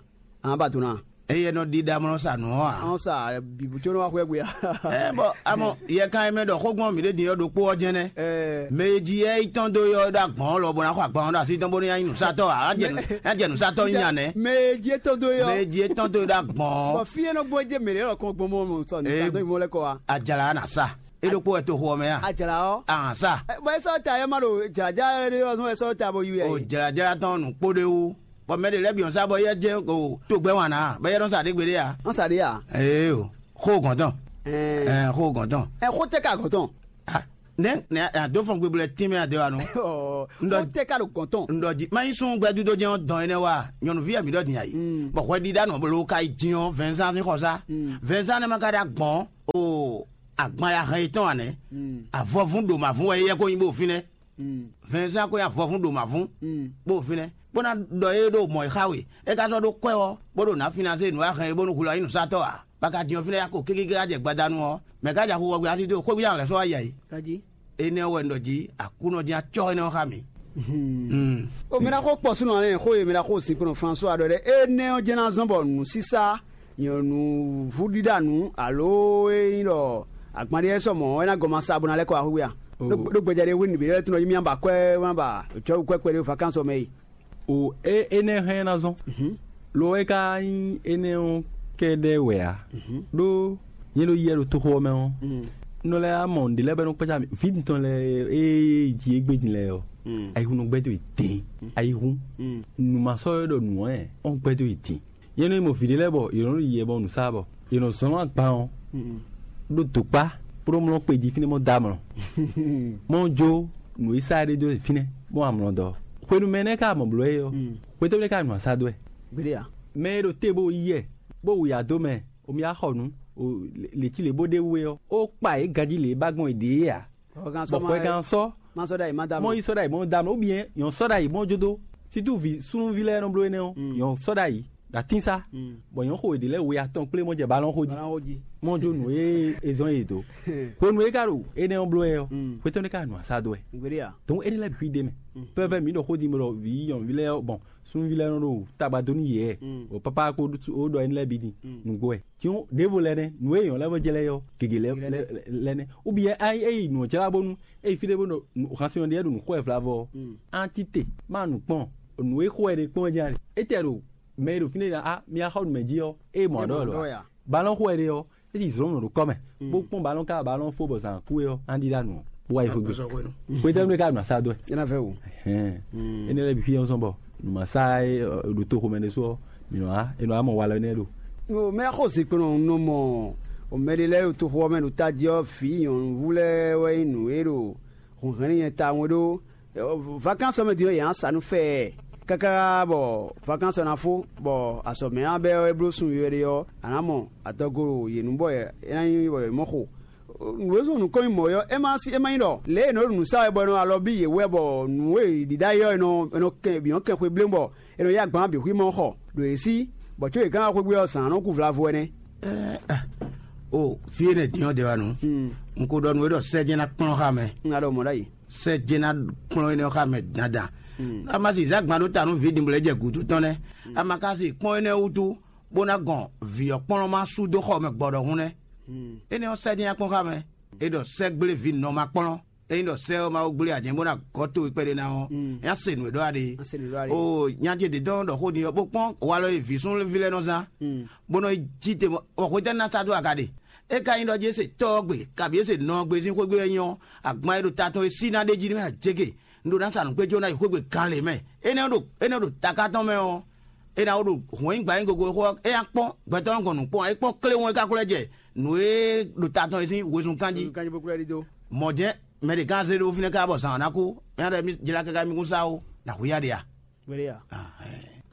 An ba do ná. Eye nɔ ɖiɖa mlɔ sa nǔ ɔ́ ǎ. An sa bǐbú có nɔ wá xwé gbe ǎ. Ɛ bɔ amɔ yɛ kan e mɛ ɖɔ xó gbɔn mǐ ɖe din ɔ́ ɖokpó ɔ́ jɛnɛ. Ɛ. Mɛ e jí yɛ yi tɔn dó yɔ ɖo agbɔn lɔ bó ná xɔ agbɔn ɖo así tɔn bó ní ná nyí nǔsatɔ́ ǎ. Á jɛ nǔ- á jɛ nǔsatɔ́ nya nɛ. Mɛ e jí é tɔn dó yɔ. Mɛ e jí é tɔn dó ɖo agbɔn. Bɔ fí é nɔ gbɔn é jɛ mɛ lɛ́ lɔ kɔn gbɔn mɔ sɔ nǔsatɔ́ yi mɔ lɛ́ kɔ wa. Ajala na sa. E ɖokpó wɛ toxo ɔ́ mɛ a? Ajala ɔ́. Ahàn sa. Bɔ é sɔ́ ta é má ɖo jlǎjá ɖé ɔ́ zɔn é sɔ́ ta bó yi wɛ. O jlǎjlá tɔn nǔ kpó ɖé wú. Bɔ mɛ ɖě lɛ́ɛ bǐ nɔ sa bɔ yɛ jɛ o togbɛ wan ná, bɔ yɛ nɔ sa ɖě gbeɖé a? An sa ɖé a? Ee o, xó gɔn tɔn. Ɛɛ. Ɛɛ, xó gɔn tɔn. Ɛ xó tɛ ka gɔn tɔn. Ah, nɛ nɛ a dó fɔn gbegblɛ tín mɛ a dé wa nɔ. Ɔ, N ɖɔ- xó tɛ ka ɖo gɔn tɔn. N ɖɔ jí má nyí sún gbɛdúdó jɛn ɔ́ dɔn énɛ́ wa nyɔnuví ɛ mi ɖɔ din ayi. Mm. Bɔ hwɛ ɖiɖa nɔ blo ka yi din ɔ́ vɛnzan sín xɔ sá. Mm. Vɛnzan nɛ ma ka ɖe agbɔn o agban ya hɛn yetɔn anɛ. Mm. Avɔvún ɖo mavún wɛ yɛ ko nyi bó fínɛ́. Mm. Vɛnzan ko nyi avɔvún ɖo mavún. Mm. Bó fínɛ́ bó ná ɖɔ é ɖo mɔ̌ e xa we é ka sɔ́ ɖó kwɛ ɔ́ bó ɖo nǎ finazé nǔ e a hɛn é bónú hwlɔ́ nyí nǔsatɔ́ ǎ. Baka din ɔ́ fínɛ́ ya ko kékéké ká jɛ gbadanu ɔ́, mɛ ká ja xu wɔ gbe así dó xwé bó ya lɛ̌ sɔ́ wá yi ayǐ. Kají. Énɛ́ ɔ́ wɛ un ɖɔ jí Aklúnɔ jɛ́n acɔ́ énɛ́ ɔ́ xá mì. Hmm. O mɛ ná xó kpɔ súnɔ lɛ́ɛ xó e mɛ ná xó sinkplɔ́n François ɖɔ ɖɛ énɛ́ ɔ́ jɛ́n ná zɔ́n bɔ nǔsísá nyɔ̌nuvú ɖíɖá nǔ alo é nyí ɖɔ agbanɖé sɔ mɔ̌ é ná gɔn ma sa bó ná lɛ́ kɔ axwíxwí a? Ɖó gbɛjɛ ɖé hwenu bǐ lɛ́ tunɔ yí mì ba kwɛ́ má ba jɔwú kwɛ́ kpɛɖé vakánsɔ mɛ yi. O é énɛ́ hɛn ná zɔ́n. Lo é ka nyí énɛ́ ɔ́ kɛ́ɖɛ́ wɛ ǎ. Ɖó nyɛ ɖo yɛ ɖo toxo ɔ́ mɛ ɔ́, nɔ lɛ́ɛ á mɔ nǔɖé lɛ́ɛ bɔ é nɔ kpácá mì. Vǐ tɔn lɛ́ɛ e ji égbé din lɛ́ɛ ɔ́, ayihun nɔ gbɛ́ dó yě dín. Ayihun nǔ ma sɔ́ é ɖɔ nǔ ɔ́ ɔ́ gbɛ́ dó yě dín. Yě nɔ yi mɔ vǐ ɖé lɛ́ɛ bɔ yě nɔ ɖo yiyɛ bɔ nǔ sa bɔ yě nɔ zɔn agban ɔ́ ɖó dokpá bó nɔ mlɔ́ kpe jí fínɛ́ mɔ dó amlɔ. Mɔ jó nǔ e sa ɖé dó fínɛ́ bó amlɔ dɔ. Hwenu mɛ nɛ́ ka mɔ blǒ é ɔ́, hwetɛ́ ka nǔ asa dó ɛ? Gbeɖé a? Mɛ e ɖo te bó yí ɛ bó wu yǎ dó mɛ, o mi wá xɔ nǔ, o lě cí lě bó ɖe wú é ɔ́, ó kpa yě ganjí lě e ba gbɔn yě ɖe é ǎ. Bɔ hwɛgán sɔ́ má sɔ́ ɖ'ayǐ má dá mɔ mɔ. Yi sɔ́ ɖ'ayǐ mɔ dá mɔ, ou bien nyɔ̌ sɔ́ ɖ'ayǐ mɔ jó dó. Situ vi súnnuví lɛ́ɛ nɔ bló énɛ́ ɔ́, nyɔ̌ sɔ́ ɖ'ayǐ ɖo atín sá. Bɔ nyɔ̌ xo yě ɖě lɛ́ɛ we atɔn kplé mɔ jɛ balɔn xó jí. Balɔn xó jí. Mɔ jó nǔ e è zɔ́n yě dó. Hwenu e é ka ɖo énɛ́ ɔ́ bló wɛ ɔ́, xwetɔ́ ɖé ka nɔ asá dó wɛ. Gbeɖé a? Donc énɛ́ lɛ́ɛ bǐ xwí ɖ'é mɛ. Pɛ́pɛ́ mǐ ɖɔ xó din bɔ ɖɔ vǐ nyɔ̌nuví lɛ́ɛ ɔ́, bɔn súnnuví lɛ́ɛ nɔ ɖo tagba dó nú yě wɛ. Bɔ pápá ko ɖó énɛ́ lɛ́ɛ bǐ din nǔgbó wɛ. Tiɔn ɖěvo lɛ́ɛ nɛ́, nǔ e nyɔ̌ lɛ́ɛ vɔ jɛ lɛ́ɛ ɔ́, gěgé lɛ́ɛ lɛ́ɛ nɛ́. Ou bien é yi nǔ ɔ́ jlá bónú é yi fí ɖé bó ɖo hansin ɔ́ ɖíe ɖo nǔ xo wɛ vlavɔ ɔ́, á tite má nǔ kpɔ́n, nǔ e xo wɛ ɖe kpɔ́n jɛ́n a? Étɛ́ ɖo mɛ e ɖo fínɛ́ ɖɔ á mi wá xɔ nǔ mɛ jí ɔ́, é mɔ aɖɔ lɔ a? Balɔn xo wɛ ɖe ɔ́, é si zlɔ́n nɔ ɖo kɔ́ mɛ, bó kpɔ́n balɔn ká balɔn fó bɔ zǎn kú é ɔ́, á ɖíɖá nǔ ɔ́, bó wá yi xwé gbe. Xwetɛ́nu e ka ɖo nǔ asá dó wɛ? É ná vɛ wú. Énɛ́ lɛ́ɛ bǐ fí ɔ́ zɔn bɔ nǔ ma sá é ɖo toxo mɛ ɖésú ɔ́, mǐ nɔ wá, è nɔ wá mɔ walɔ énɛ́ ɖo. Mɛ xo zinkplɔn nɔ mɔ mɛ ɖé lɛ́ɛ ɖo toxo ɔ́ mɛ ɖo tají ɔ́, vǐ nyɔ̌nuví lɛ́ɛ wɛ nyí nǔ e ɖo hunhɛn n'i nyɛ tawun é ɖó. Vakánsɔ mɛ din ɔ́, yě ná sa nú fɛɛ káká bɔ vakánsɔ ná fó, bɔ azɔ̌ mɛ ná bɛ́ ɔ́ é bló sun yɔ̌yɔ́ ɖé ɔ́, a nǎ mɔ adɔgo ɖo yě nu bɔ é ná nyí bɔ yě mɔ xo. Nǔ e zɔ́n nǔkɔn nyi mɔ̌ ɔ́, é má sí é má nyí ɖɔ lě e è nɔ ɖo nǔ sa wɛ bɔ è nɔ alɔ bí yě wɛ bɔ nǔ e è ɖi ɖ'ayǐ ɔ́, è nɔ è nɔ kɛn bǐ nɔ kɛn xwe blé bɔ è nɔ yá gban bǐ xwí mɔ xɔ ɖo yě sí, bɔ có yě ká ná xwé gbé ɔ́, zǎn ɔ́ nɔ kú vlavo wɛ nɛ́. O fí énɛ́ din ɔ́ ɖe wa nǔ. Un ko ɖɔ nú we ɖɔ sɛ́ jɛ́n ná kplɔ́n xá mɛ. Un ná ɖɔ mɔ̌ ɖ'ayǐ. Sɛ́ jɛ́n ná kplɔ́n énɛ́ xá mɛ dandan. A ma si zǎn gban ɖó ta nú vǐ dinblo e jɛ gǔdo tɔn nɛ́. A ma ka si kpɔ́n énɛ́ wútu bó ná gɔn vǐ ɔ́ kplɔ́n má sú dó xɔ mɛ gbɔ ɖɔhun nɛ́. Énɛ́ ɔ́, sɛ́ dín akpɔ́n xá mɛ. É ɖɔ sɛ́ gblé vǐ nɔ má kplɔ́n. Ényí ɖɔ sɛ́ ɔ́ Mawu gblé ǎ jɛ́n bó ná gɔ́ towe kpɛɖé ná ɔ́, é ná se nǔ e ɖɔ a ɖe. Oo, nya ce d'é tɔn ɖɔ xó din ɔ́, bó kpɔ́n walɔ e vǐ súnnuví lɛ́ɛ nɔ zán, bó nɔ yi jí te mɔ, bɔ hwetɛ́nu ná sa dó aga ɖe? É ka nyí ɖɔ jí é se tɔ́ ɔ́ gbe, kabǐ é se nɔ ɔ́ gbe sín xwé gbe wɛ nyí ɔ́, agban e ɖo ta tɔn e sí ná ɖ'é jí nɛ́ ná jégbe, un ɖó ná sa nǔgbé jó ná yi xwé gbe gan lě mɛ. Énɛ́ ɖo énɛ́ ɖo taká tɔn mɛ ɔ́, é ná wó ɖo hwɛ̌n gbǎ nyi gogo xó ɔ́, é ná kpɔ́n gbɛtɔ́ nɔ gɔn nǔ kpɔ́n, é kpɔ́n klé wɔn é ka xwlɛ́ jɛ nǔ e ɖo ta tɔn e sín wezun kan jí. Kanjí bó kúlɛ́ ɖidó. Mɔ̌ jɛ́n mɛ ɖě gán zé ɖó fínɛ́ káká bɔ zǎn ɔ́ ná kú, é ná ɖɔ mì jlá káká mì kún sá ó, nǎ hu yá ɖe a? Wéré a? Ahɛn.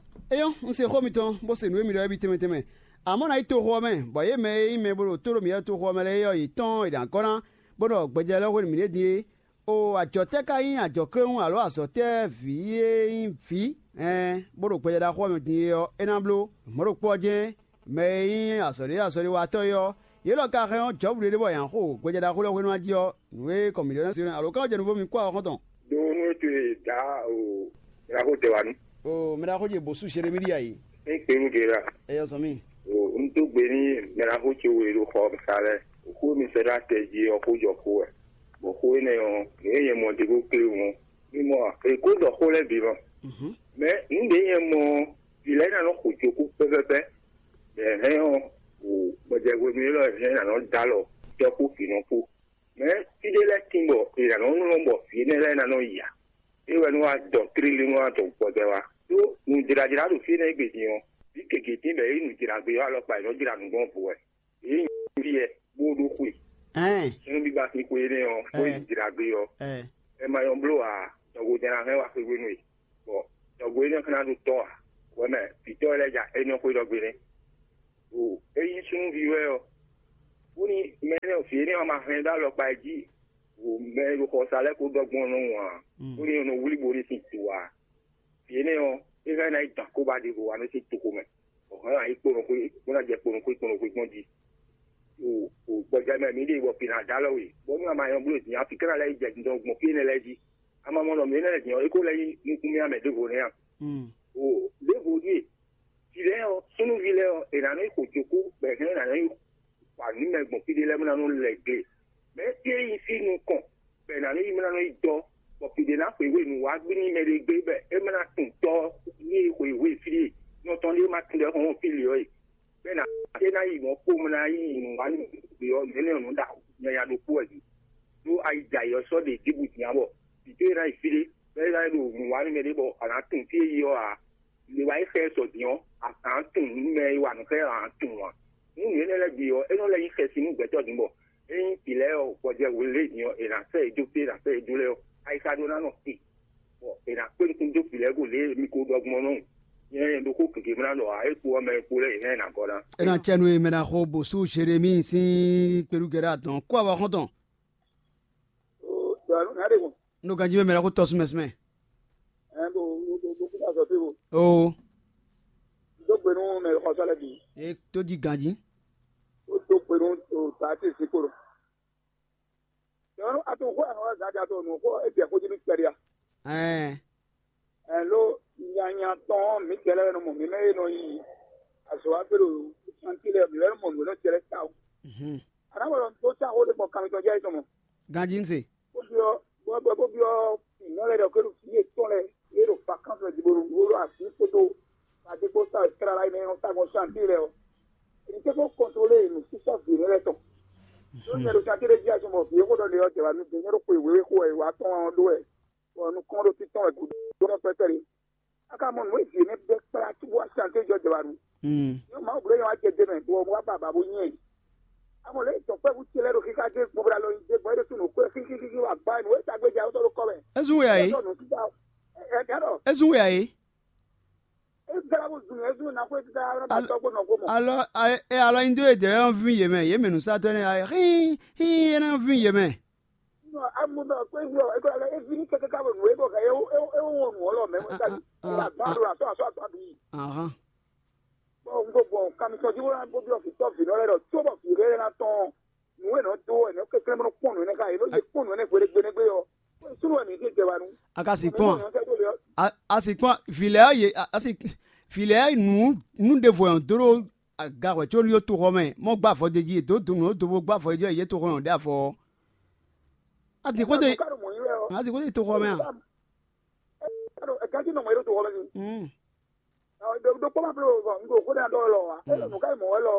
É nyɔ́, un se xó mitɔn, bó se nǔ e mi ɖɔ é bǐ tɛnmɛ tɛnmɛ. Amɔ̌, ná yi toxo ɔ́ mɛ, bɔ yě mɛ e nyí mɛ bó ɖo tó ɖo mǐ wɛ toxo ɔ́ mɛ lɛ́ɛ é ɔ́, yě tɔ́n è nǎ gɔ́ ná, bó ɖɔ gbɛjɛ lɛ́ɛ hwenu mǐɖée din é. O, ajɔ tɛ́ ka nyí ajɔ̌kléwún alǒ azɔ̌ tɛ́ vǐ e nyí vǐ, ɛɛn, bó ɖo gbɛjɛ ɖaxó ɔ́ mɛ din é ɔ́, é ná bló? Mɔ̌ ɖokpó ɔ́ jɛ́n, mɛ e nyí azɔ̌ɖé azɔ̌ɖéwatɔ́ é ɔ́, yě lɔ ka hɛn ɔ́, Jɔ̌bu ɖé ɖé bɔ è nǎ xo gbɛjɛ ɖaxó lɛ́ɛ hwenu ná jí ɔ́, nǔ e kɔn mǐɖɔ ná se alo ká jɛ nuvó mi kpó axɔ́ntɔn. Ɖó nú é towe dǎ o, mɛ ɖaxó tɛ wá nú. O, mɛ ɖaxó ce bǒ sú Jeremíɖi a yi? É kpe nú Gera. Ɛ yɔ zɔn mì. O, un dó gbe ní mɛ ɖaxó ce we ɖo xɔ sa lɛ́ɛ. Xó mi sɛ́ ɖó atɛ jí ɔ́, xó jɔ xó wɛ. Bɔ xó énɛ́ ɔ́, nǔ e nyɛ mɔ ɖě ko kléwún ɔ́, mi mɔ a? È ko ɖɔ xó lɛ́ɛ bǐ mɔ. Mɛ nǔ ɖě nyɛ mɔ ɔ́, vǐ lɛ́ɛ ná nɔ xo cokú pɛ́pɛ́pɛ́. Bɔ è hɛn ɔ́, o, gbɔjɛhwenu élɔ́ è hɛn ná nɔ dó alɔ tɔ́ kpó vǐ nɔ kpó. Mɛ fí ɖé lɛ́ɛ tín bɔ è nǎ nɔ lɔn bɔ vǐ énɛ́ lɛ́ɛ ná nɔ yi ǎ. É wɛ nú wá dɔ tlílí nú wá dɔ gbɔjɛ́ wá. Đó nǔjlájlá ɖo fí énɛ́ gbe din ɔ́, vǐ gěgé tín bɔ é nyí nǔjlágbé ɔ́ alɔkpa è nɔ́ jlá nǔ gbɔn vo wɛ. Yě nyí fí yɛ bó ɖó xwe. Ɛn. Súnnu bíbá sín xwe énɛ́ ɔ́, bó nyí Ɛn. Jlágbé ɔ́. Ɛn. Ɛ ma nyɔ́ bló ǎ, tɔgbo jɛ́n ná hɛn wá xwé hwenu e. Bɔ tɔgbo énɛ́ xlɛ́ ná ɖó tɔ́ ǎ. Hwɛ mɛ vǐtɔ́ lɛ́ɛ ja é nyɔ́ xwé ɖɔgbe nɛ́. O, é nyí súnnuví wɛ ɔ́, bóni mɛ énɛ́ vǐ énɛ́ ɔ́ ma hɛn dó alɔkpa jí, o, mɛ e ɖo xɔsa lɛ́ɛ kó ɖɔ gbɔn nɔ ǎ, bóni è nɔ wlí bo ɖe sin do ǎ. Vǐ énɛ́ ɔ́, é hɛn ná yi dɔn akóba ɖěvo wá nú sín toxo mɛ, bɔ hɛn ná yi kponɔxwé, bó ná jɛ kponɔxwé kponɔxwé gbɔn jí. O, o, gbɔjɛ́ mɛ mǐ ɖe bɔ vǐ ná dó alɔ we, bɔnú a ma nyɔ́ bló din, afi ká ná lɛ́ yi jɛ dindɔn gbɔn fí énɛ́ lɛ́ɛ jí. A ma mɔ nɔ mǐ énɛ́ lɛ́ɛ din ɔ́, é kó lɛ́ nyí nukúnmɛ mɛ ɖěvo nɛ́ a? O, ɖěvo ɖíe, vǐ lɛ́ɛ ɔ́, súnnuví lɛ́ɛ ɔ́, è nǎ nɔ yi xo cokú, bɔ è hɛn ná nɔ yi xwa nǔ mɛ gbɔn fí ɖé lɛ́ɛ bó ná nɔ lɛ gle. Mɛ é nyí fí nukɔn, bɔ è nǎ nɔ yi bó ná nɔ yi dɔ́, bɔ fǐ ɖé ná xweyǐgbe nǔ wá gbí n'i mɛ ɖé gbé, bɔ é má ná tunwun tɔ́ e xweyǐgbe fí ɖé nɔ tɔn ɖé ma tunwun ɖɔ é hɔn fí lě ɔ́ e. Bɔ é ná é ná yi mɔ̌ kpó bó ná yi nǔ wá nú gbě ɔ́, nǔ énɛ́ ɔ́ nǔ ɖo nyanya ɖokpó wɛ din. Ɖó ayi jɛ ayǐ ɔ́ sɔ́ ɖe Ejípiti ǎ, bɔ vǐ towe ná yi fí ɖé, bɔ é ná yi ɖo nǔ wa nú mɛ ɖé bɔ a nǎ tunwun fí e yi ɔ́ ǎ. Lě wa yi xɛ sɔ din ɔ́, a nǎ tunwun nǔ mɛ e wa nǔ xá ɛ ɔ́, a nǎ tunwun ǎ. Nú nǔ énɛ́ lɛ́ɛ bǐ ɔ́, é nɔ́ lɛ́ nyí xɛsi nú gbɛtɔ́ din bɔ ényí vǐ lɛ́ɛ ɔ́ gbɔjɛ́ hwelé din ɔ́, è nǎ sɛ́ yě dó fí, è nǎ sɛ́ yě dó lɛ́ɛ ɔ́, ayixa ɖó ná nɔ te, bɔ è nǎ kpé nukún dó vǐ lɛ́ɛ go lě e mi ko ɖɔ gbɔn nɔ́. Nyɛ ɖokpó gěgé mlá ɖɔ ǎ, é kpo ɔ́ mɛ e kpo lɛ́ɛ è hɛn ɛ nǎ gɔ́ ná. É ná cɛ nú e mɛ ná xo bǒsú Zerémi sín kpelúgɛ́ ɖo adɔn kó awɔ xɔ́ntɔn. Dɔwɛnu ná ɖe gbɔn. Nú ganjí mɛ ná xo tɔ́ súnmɛ súnmɛ. Ɛ bo bo bo bo kúta sɔ fí bo. Oo. Dó gbe nú mɛ xɔsɔ lɛ bǐ. E tó jí ganjí. Ó dó gbe nú o ta ti sí koro. Dɔwɛnu a to xó àwọn ọ̀gá jà tó nù kó e jẹ kó jí ní kpɛɖi a. Ɛɛ. Ɛn ló nyanya tɔn mǐ tɛ lɛ́ɛ nɔ mɔ mǐ mɛ e nɔ yi azɔ̌ wa gbé ɖo santi lɛ́ɛ mǐ lɛ́ɛ nɔ mɔ nǔ e nɔ jɛ lɛ́ɛ ta o. Mhm. A nǎ wɛ ɖɔ dó cá xó ɖé gbɔn kan mitɔn jɛ é tɔn mɔ. Ganjí ń se. Bó byɔ́ bó bó bó byɔ́ nǔ lɛ́ɛ ɖɔ kó ɖo fí yětɔn lɛ́ɛ yě ɖo vakánsi mɛ din bó ɖo nǔ ɖo así kpódó adékpó sa tlala yi mɛ e nɔ ta gbɔn santi lɛ́ɛ ɔ́. Èyí tẹ́ kó kɔntrolé nǔsísá vǐ lɛ́ɛ tɔn. Ló nyɛ ɖo santi ɖé jí azɔn bɔ vǐ e xó ɖɔ lě ɔ́ jɛ wá nú din nyɛ ɖo xwe wěwé xo wɛ wá tɔn ɔ́ ɖó wɛ. Bɔ nukɔn ɖo títɔn wɛ gǔdo ɖɔ pɛpɛlɛ. A ka mɔ nǔ e vǐ énɛ́ bɛ́ kplá cóbó wá sante jɔ jɛ wá ɖu. Nyɔ Mawu bló nyɛ wá jɛ dé mɛ, bɔ wá ba ba bó nyɛ. A mɔ lě e dɔ̌nkpɛvú ce lɛ́ɛ ɖo xixa dó gbɔn bó ɖo alɔ nyi dé gbɔn é ɖésú nǔ xwé xíxíxí wá gbá nǔ e tagbe jɛ awotɔ ɖó kɔ mɛ. É zún wɛ ǎ é. Ɛ ɛ ɛ ɖɔ É zún wɛ ǎ é. É glá bó zun é zun ná xwé títí ná ba tɔ́ gbó nɔ gbó mɔ. Alɔ ɛ alɔ nyi dó e dɛ̌ lɛ́ɛ nɔ vín yě mɛ, yě mɛ nǔsatɔ́ énɛ́ ɔ́, xín xín é ná vín yě mɛ. Nɔ amu bɛ kpé wlɔ é kɔ lɛ é vi ní kɛkɛ ká bɔ nǔ é bɔ kɛ é é é wɔ nǔ ɔlɔ mɛ mɔ ká bi. Ó wà gbá ɖo atɔ atɔ atɔ bi. Ahán. Bɔ un ko gbɔn kamisɔn jí wó ná bó byɔ vǐ tɔ́ vǐ nɔ lɛ́ɛ ɖɔ tó bɔ vǐ lɛ́ɛ ná tɔn nǔ e nɔ dó wɛ nɔ kɛklɛ́ mɔ kpɔ́n nǔ énɛ́ ká yě nɔ yě kpɔ́n nǔ énɛ́ gbeɖé gbeɖé ɔ́. Súnnu wɛ mǐ ɖe jɛ wa nú. A ka si kpɔn a? A si kpɔn vǐ lɛ́ɛ ɔ́ yě a si Vǐ lɛ́ɛ nǔ nú ɖěvo ɔ́ dó ɖó aga hwɛ̌ có lí ɖó toxɔ mɛ, mɔ gbá avɔ d'é jí, è dǒ do nǔ ɖó do bó gbá avɔ d'é jí, è yě toxɔ nyɔ̌nu ɖé avɔ ɔ́. Adǐn xwédo, adǐn xwédo yi toxɔ mɛ a? Ɛganjí nɔ mɔ yě ɖo toxɔ mɛ ni. Ɖokpó ma bló bɔ un ɖo xó ɖé ɖɔ lɔ ǎ. É ɖɔ nǔ ká yi mɔ wɛ lɔ.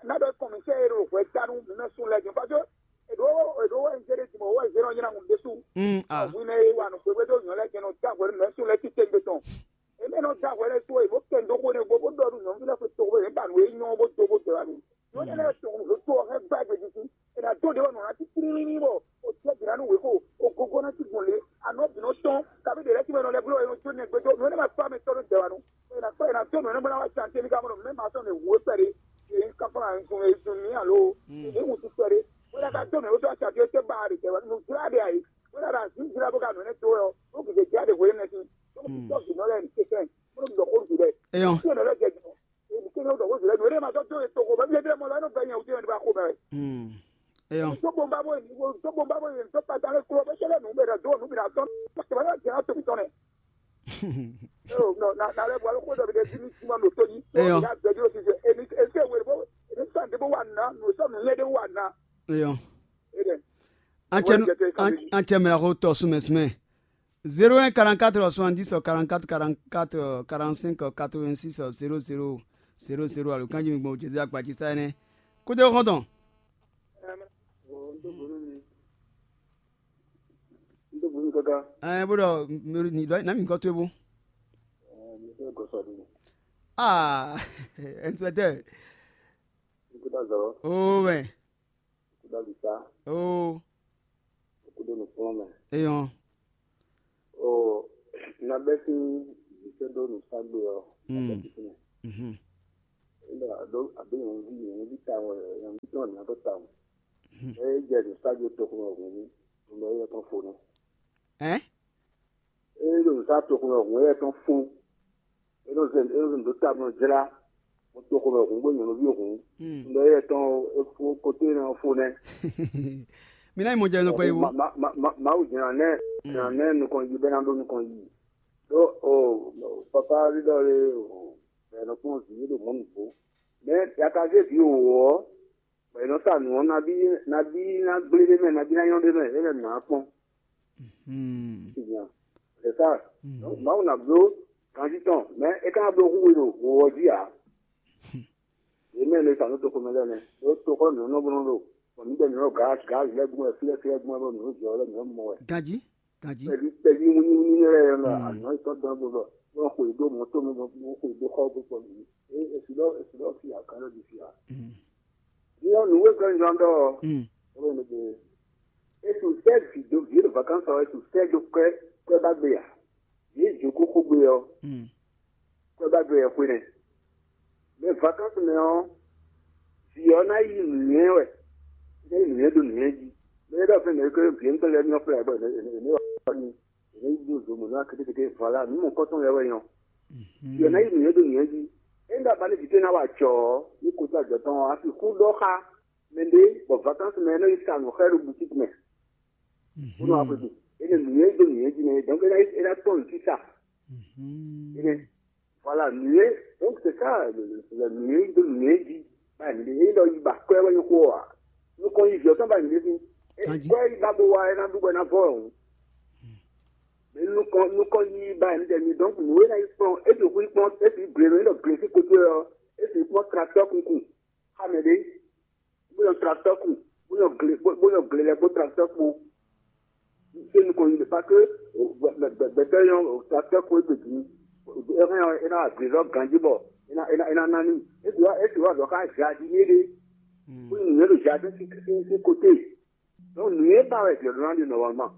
Ná ɖɔ kɔn mǐ sɛ e ɖo hwɛ ta nú mǐ mɛ sun lɛ din, parce que èɖó èɖó wɛ un zé ɖe din mɔ wɛ zé nɔ nyi na ŋu ɖésú. Hwi mɛ e wa nǔ xwéxwé dó nyɔ̌ lɛ́ɛ jɛ́n nɔ dó agbɛ̌ nú mɛ sun lɛ́ɛ títí gbe tɔn. Èmi nɔ dó agbɛ̌ lɛ́ɛ tó e bó kɛ ndó xó ne bó bó ɖɔ nú nyɔ̌nu lɛ́ɛ xwe toxo e ba nǔ e nyɔ́ bó dó bó dɛ wá nú. Nyɔ̌nu lɛ́ɛ tɔn ɖo tó ɔ́ hɛn gbá gbe jí. È nǎ dó ɖě wɛ nɔ ná títí ní bɔ o jɛ bǐ ná nú wěxo, o gogo ná cí gbɔn lě, anɔ bǐ nɔ tɔn, kabí ɖě lɛ́ɛ cí mɛ nɔ lɛ́ bló e nɔ jó nɛgbé dó, nǔ e ná ma kpá mɛ tɔ́ nú dɛ wá nú. È nǎ kpá è nǎ dó nǔ e nɔ bó ná wá can cé mí ka mɔ ɖɔ mɛ ma sɔ́ mɛ wǔ é kpɛɖé, yě nyí káfá nǔ e zun mǐ alo yě nyí wǔtu kpɛɖé. Bó ná ka dó mɛ wútu acǎ dó tɛ́ ba ɖe dɛ wá nú jlá ɖe ayǐ, bó ná ɖo azǐ jlá bó ka nǔ énɛ́ dó wɛ ɔ́, bó gǐgé jlá ɖe hweyí mɛ sín, bó kún tɔ́ vǐ nɔ lɛ́ɛ ní tɛtɛn, bó nɔ ɖɔ xó nǔ dɛ. Eyɔn. Tí ò nɔ lɛ́ jɛ jɔ. Èmi kéde ó dɔn xó zǐlɛ́ nǔ e ma sɔ́ dó e toxo mɛ, bíyɛ́ bíyɛ́ mɔ lɔ é nɔ vɛ́ nyɛ wútu nyɛ ní ba xo mɛ wɛ. Eyɔn. Tó gbɔn bá bó yi, tó gbɔn bá bó yi, tó kpata lé klo bó sɛlɛ nǔ bɛ dó nǔ bǐ ná tɔn. Pàṣẹ wà lọ jẹ́ àtò tɔn nɛ. Ó nɔ na na lɛ bɔ alɔ kó dɔ bi dɛ bí ní sima nɔ tó yí. Eyɔn. Ná bɛ dúró sísè. Èmi èsè wèrè bó èmi sàn dé bó wà ná nù sọ nù nyɛ dé wà ná. Eyɔn. Edɛ. An cɛ an cɛ mɛ la ko tɔ sumɛ sumɛ. Zéro un quarante-quatre soixante-dix quarante-quatre quarante-quatre quarante-cinq quatre-vingt-six zéro zéro zéro zéro alo kanji mi gbɔn jɛjɛ agbaji sa ɛnɛ. Kódé xɔntɔn. Ɛɛ bó dɔ mi dɔ nami nkɔ tó ebo. Aa inspecteur. Oo mɛ. Oo. Kúdó nǔkplɔ́nmɛ. Eyɔn. O na bɛ́ sín vǐ sɛ́ dó nǔságbe ɔ́, na bɛ́ sín fínɛ́. Mhm. Ényí ɖɔ àdó àdó nyɔ̌nuví nyɔ̌nuví tawun wɛ nyɔ̌nuví tɔn ɔ́ ná dó tawun. Mhm. É jɛ nǔságbe toxo mɛ hǔn nú un ɖɔ éyɛ́ tɔn fo nɛ́. Ɛ̌? É ɖo nǔ sa toxo mɛ hǔn éyɛ́ tɔn fó. É nɔ zɛ é nɔ zɛ nǔ dó ta bó nɔ jlá. Mo toxo mɛ hǔn bó nyɔ̌nuví hǔn. Un ɖɔ éyɛ́ tɔn é fó koté nɔ fó nɛ́. Mi ná yi mɔ jɛ nɔ kpɛɖé bó. Mawu jɛ́n ná nɛ́ jɛ́n ná nɛ́ nukɔn yi bɛ́ ná ɖó nukɔn yi. Ɖó o papa ɖíɖɔ lé o bɛ̌ nɔ kpɔ́n vǐ ɖo mɔ̌ nǔgbó. Mɛ yakaví vǐ wǒ ɔ́, bɔ è nɔ sa nǔ ɔ́ nabí nabí ná gblé ɖé mɛ, nabí ná nyɔ́ ɖé mɛ, é lɛ́ nǔ ná kpɔ́n. C'est ça. Donc Mawu ná bló ganjí tɔn, mɛ é ka ná bló hú we ɖo wǒ ɔ́ jí ǎ. Yě mɛ e sa nú toxo mɛ lɛ́ɛ nɛ́, ɖó toxo nǔ nɔ bó nɔ ɖo, bɔ mǐ ɖɛ nǔ nɔ gǎ gǎ lɛ́ɛ gbɔn wɛ, fí lɛ́ɛ fí lɛ́ɛ gbɔn wɛ bɔ nǔ jɛ ɔ́ lɛ́ɛ nǔ mɔ wɛ. Ganjí. Ganjí. Pɛ́bí pɛ́bí wínníwínní lɛ́ɛ nɔ àná yětɔn dɔn bó bɔ bó nɔ xwe dó mɔ̌ tɔn mɛ bó xwe dó xɔ bó kpɔ nǔ. É èsì lɔ èsì lɔ fi ǎ, kan lɔ ɖi fi ǎ. Nyɔ̌nu wé kɔ nyɔ́ ɖɔ. Ɔ́ nɔ ɖe ètò sɛ́ vǐ dó vǐ ɖo vakánsɔ ètò sɛ́ dó kwɛ́ kwɛ́ ba gbe ǎ. Yě jǒ kókó gbe ɔ́, kwɛ́ ba gbe ɔ́ xwe nɛ́. Mɛ vakánsɔ mɛ ɔ́, vǐ ɔ́ ná yi nǔnywɛ́ wɛ, é ná yi nǔnywɛ́ dó nǔnywɛ́ jí. Mɛ e ɖɔ fɛ́n mɛ e ko vǐ émítɔn lɛ́ɛ nyɔ́ flɛ́ bɔ è nǐ è nǐ wa nyi, è nǐ ɖo zo mɔ̌ ná kétékété vɔ lá nǔ mɔ̌kɔtɔn lɛ́ɛ wɛ nyɔ́. Vǐ ɔ́ ná yi nǔnywɛ́ dó nǔnywɛ́ jí. Ényí ɖɔ abalí vǐ towe ná wa jɔ̌ ɔ́, ní kó dó ajɔ̌ tɔn ɔ́, a sixú ɖɔ xá mɛɖé bɔ vakánsɔ mɛ ɔ́ nɔ yi sa nǔ xá ɛ ɖo butíki mɛ. Bó nɔ wá xwedó. Énɛ́ nǔnywɛ́ dó nǔnywɛ́ jí nɛ́, donc é ná é ná tɔ́n nǔ sísa. Énɛ́ voilà nǔnywɛ́, donc c'est ça le nǔnywɛ́ dó nǔnywɛ́ jí. Báyìí ní é lɔ yi ba kwɛ́ wɛ nyɔ́ xó ɔ́ ǎ. Nukɔn yi jɔ̌ tɔn báyìí ní sí. Kwɛ́ yi ba bó wá é ná ɖu bɔ é ná vɔ ɔ̀hún. Mɛ nukɔn nukɔn yi ba ní tɛ mi, donc nǔ é ná yi kplɔ́n é ɖo xwé kplɔ́n é sì gle nú é ɖɔ gle sí koté ɔ́, é sì kplɔ́n tracteur kunkun. Xá mɛ ɖé. Bó nyɔ tracteur kun, bó nyɔ gle bó bó nyɔ gle lɛ kpó tracteur kpó. Ṣé nukɔn yi ɖe pa ké gbɛtɔ́ nyɔ tracteur kpó égbé din. É hɛn é ná agblé lɔ ganjí bɔ é ná é ná é ná ná ní. É sì wá é sì wá ɖɔ xá jardinier ɖé. Bó nyɔ nǔnyɛ ɖo jardin sí sí sí côté. Donc nǔnyɛ ba wɛ jɛ ɖó ná ɖi normalement.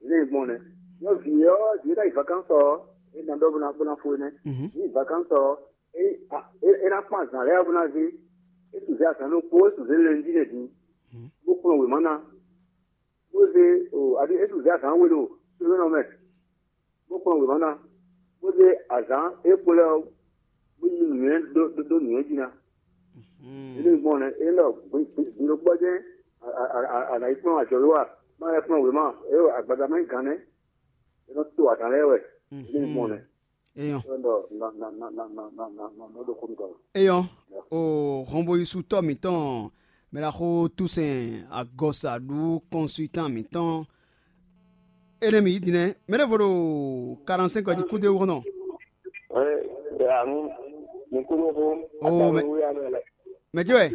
Lé gbɔn nɛ. Nyɔ vǐ ɔ́ vǐ ná yi vacances ɔ́. É ná ɖɔ bó ná bó ná fó énɛ́. Ní vacances ɔ́. É ná kpɔ́n azǎn lɛ́ɛ bó ná zé. É su zé azǎn ɖokpó, é su zé lɛnjí lɛ́ɛ din, bó kplɔ́n wěma ná, bó zé o adi é su zé azǎn we ɖo sózónɔ mɛ, bó kplɔ́n wěma ná, bó zé azǎn é kpo lɛ́ɛ ɔ́, bó yí nǔnywɛ́ ɖó ɖó nǔnywɛ́ jí ná. Énɛ́ gbɔn nɛ́ é nɔ gbiɖokpɔ́ jɛ́n a nǎ yi kplɔ́n ajɔ̌ wá, má lɛ́ kplɔ́n wěma, é agbaza má nyí gǎn nɛ́, é nɔ to azǎn lɛ́ɛ wɛ. Ní mɔ nɛ. Eyɔn. Ɖɔ na na na na na na na na nɔ ɖo xó mi gɔn. Eyɔn. O hɔnboyisutɔ mǐtɔn mɛɖaxó Toussaint Agɔsa ɖu consultant mǐtɔn. Énɛ́ mǐ yi din nɛ́. Mɛɖé vo ɖo quarante-cinq ɔ́ jí kúdé wú xɔnɔ. Ɛ anu ní kúdó xó. Oo, mɛ- Wíyá mɛ lɛ. Mɛ jí wɛ?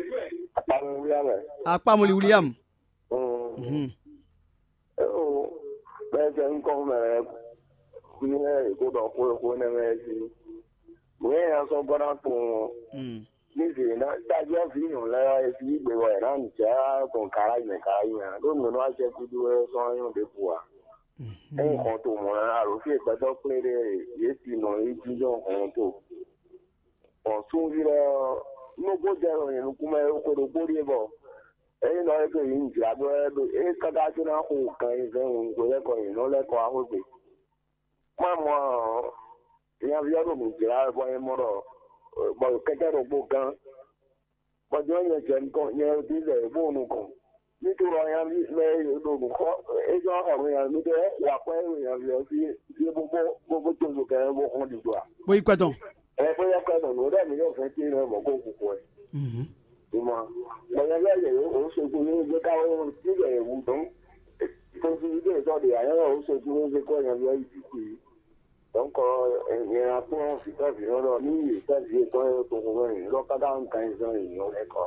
Akpamɛ wíyá mɛ. Akpamuli William. Mhm. Eo, bɛɛ jɛ ŋkɔ mɛ ní wɛ è ko ɖɔ xó e xó énɛ́ mɛ é jí. Nǔ e nya sɔ́ gbɔ ná tunwun ɔ́, ní zě ná tají ɔ́ vǐ nyɔ̌nu lɛ́ɛ ɔ́, è ví gbe wɛ è nǎ nǔ jɛ gbɔn garáji mɛ garáji mɛ ǎ, ɖó nǔ e nɔ wá jɛ gúdo wɛ ɔ́ sɔ́ wá nyɔ́ ɖěbǔ ǎ. Ényí hɔn to mɔ̌ ná alo fí e gbɛtɔ́ kplé ɖe yě ti nɔ é jínjɔ́n hɔn to. Bɔ súnví lɛ́ɛ ɔ́, nú bó jɛ ɖo nyɛ nukún mɛ é xwe ɖokpó ɖíe bɔ é nɔ é ɖo yě jlǎ bɔ é ɖo é káká có ná xo gan ayizɛ́n hwenu lɛ́ɛ kɔ nyě nɔ lɛ́ kɔ wá xwé gbe. Má mɔ ɔ́, nyaví ɔ́ ɖo nǔ jlá wɛ bɔ nyɛ mɔ ɖɔ bɔ kɛ́kɛ́ ɖokpó gán, bɔ jɔ́n nyɛ jɛ nukɔn nyɛ ɖi lɛ bó nukɔn. Ní to ɖɔ nyaví mɛ e ɖo nǔ xɔ é jɔ xɔ nú nyaví ɖé wɔ akwɛ́ e nyaví ɔ́ sí é bó bó bó bó tozo kɛ bó xɔ́n ɖiɖɔ a? Bó yi kwɛ tɔn. Ɛ bó yɛ kwɛ tɔn nǔ ɖɔ mǐ ɖo fɛ́n tín nɔ mɔ̌ kó kúkú wɛ. Mhm. Ìmọ̀ bɔ nyaví ɔ́ yɛ ó sogún ní gbé ká ó tí yɛ wú dɔn. Tozo ɖé sɔ ɖe ayɔ ó sogún ní gbé kɔ nyaví ɔ́ yi jǐ kú. Donc, nyɛ ná kplɔ́n vǐtɔ́ vǐnɔ ɖɔ ní yě tɛ́ vǐ yětɔn e toxo mɛ yě ɖɔ káká un kan zɔn yě nyɔ lɛ́ kɔ.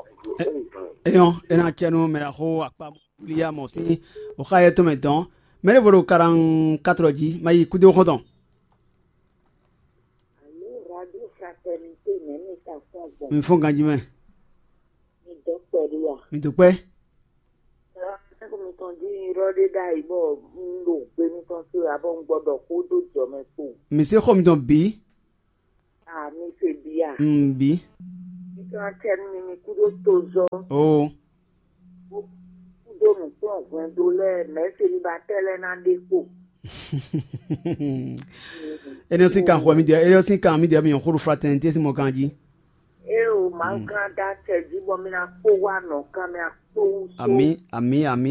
Eyɔn, é ná cɛ nú mɛ ná xó akpa wúlíyá mɔ sín oxá yɛ tɔn mɛ dɔn. Mɛ ɖěvo ɖo quarante-quatre jí, ma yi kúdó xɔ́ntɔn. Alo radio fraternité mɛ mi ka fɔn gbɔn. Mi fɔn ganjí mɛ. Mi dɔ kpɛɖé a? Mi dó kpɛ́. Sɛ́xɔ mitɔn jí yrɔ́ ɖé ɖ'ayǐ bɔ un ɖo gbe mitɔn to ǎ bɔ un gbɔ ɖɔ xó ɖó jɔ mɛ kpowun. Mi se xɔ mitɔn bǐ. A mi se bǐ a? Un bǐ. Mi ka acɛ nú mi mi kúdó tozɔ́. Oo. Kúdó nǔkplɔ́nhwɛndo lɛ́ɛ mɛ̌ selibatɛ́ lɛ́ɛ ná ɖe kpo. Énɛ́ sín kan xɔ mì ɖiɛ, énɛ́ sín kan mì ɖiɛ mi nyɔ xó ɖo fraternité sín mɔ kan jí. Eo, Mawu gán dá acɛ jí bɔ mi ná kpó wá nɔ kan mi akpó wú. Amǐ, amǐ, amǐ.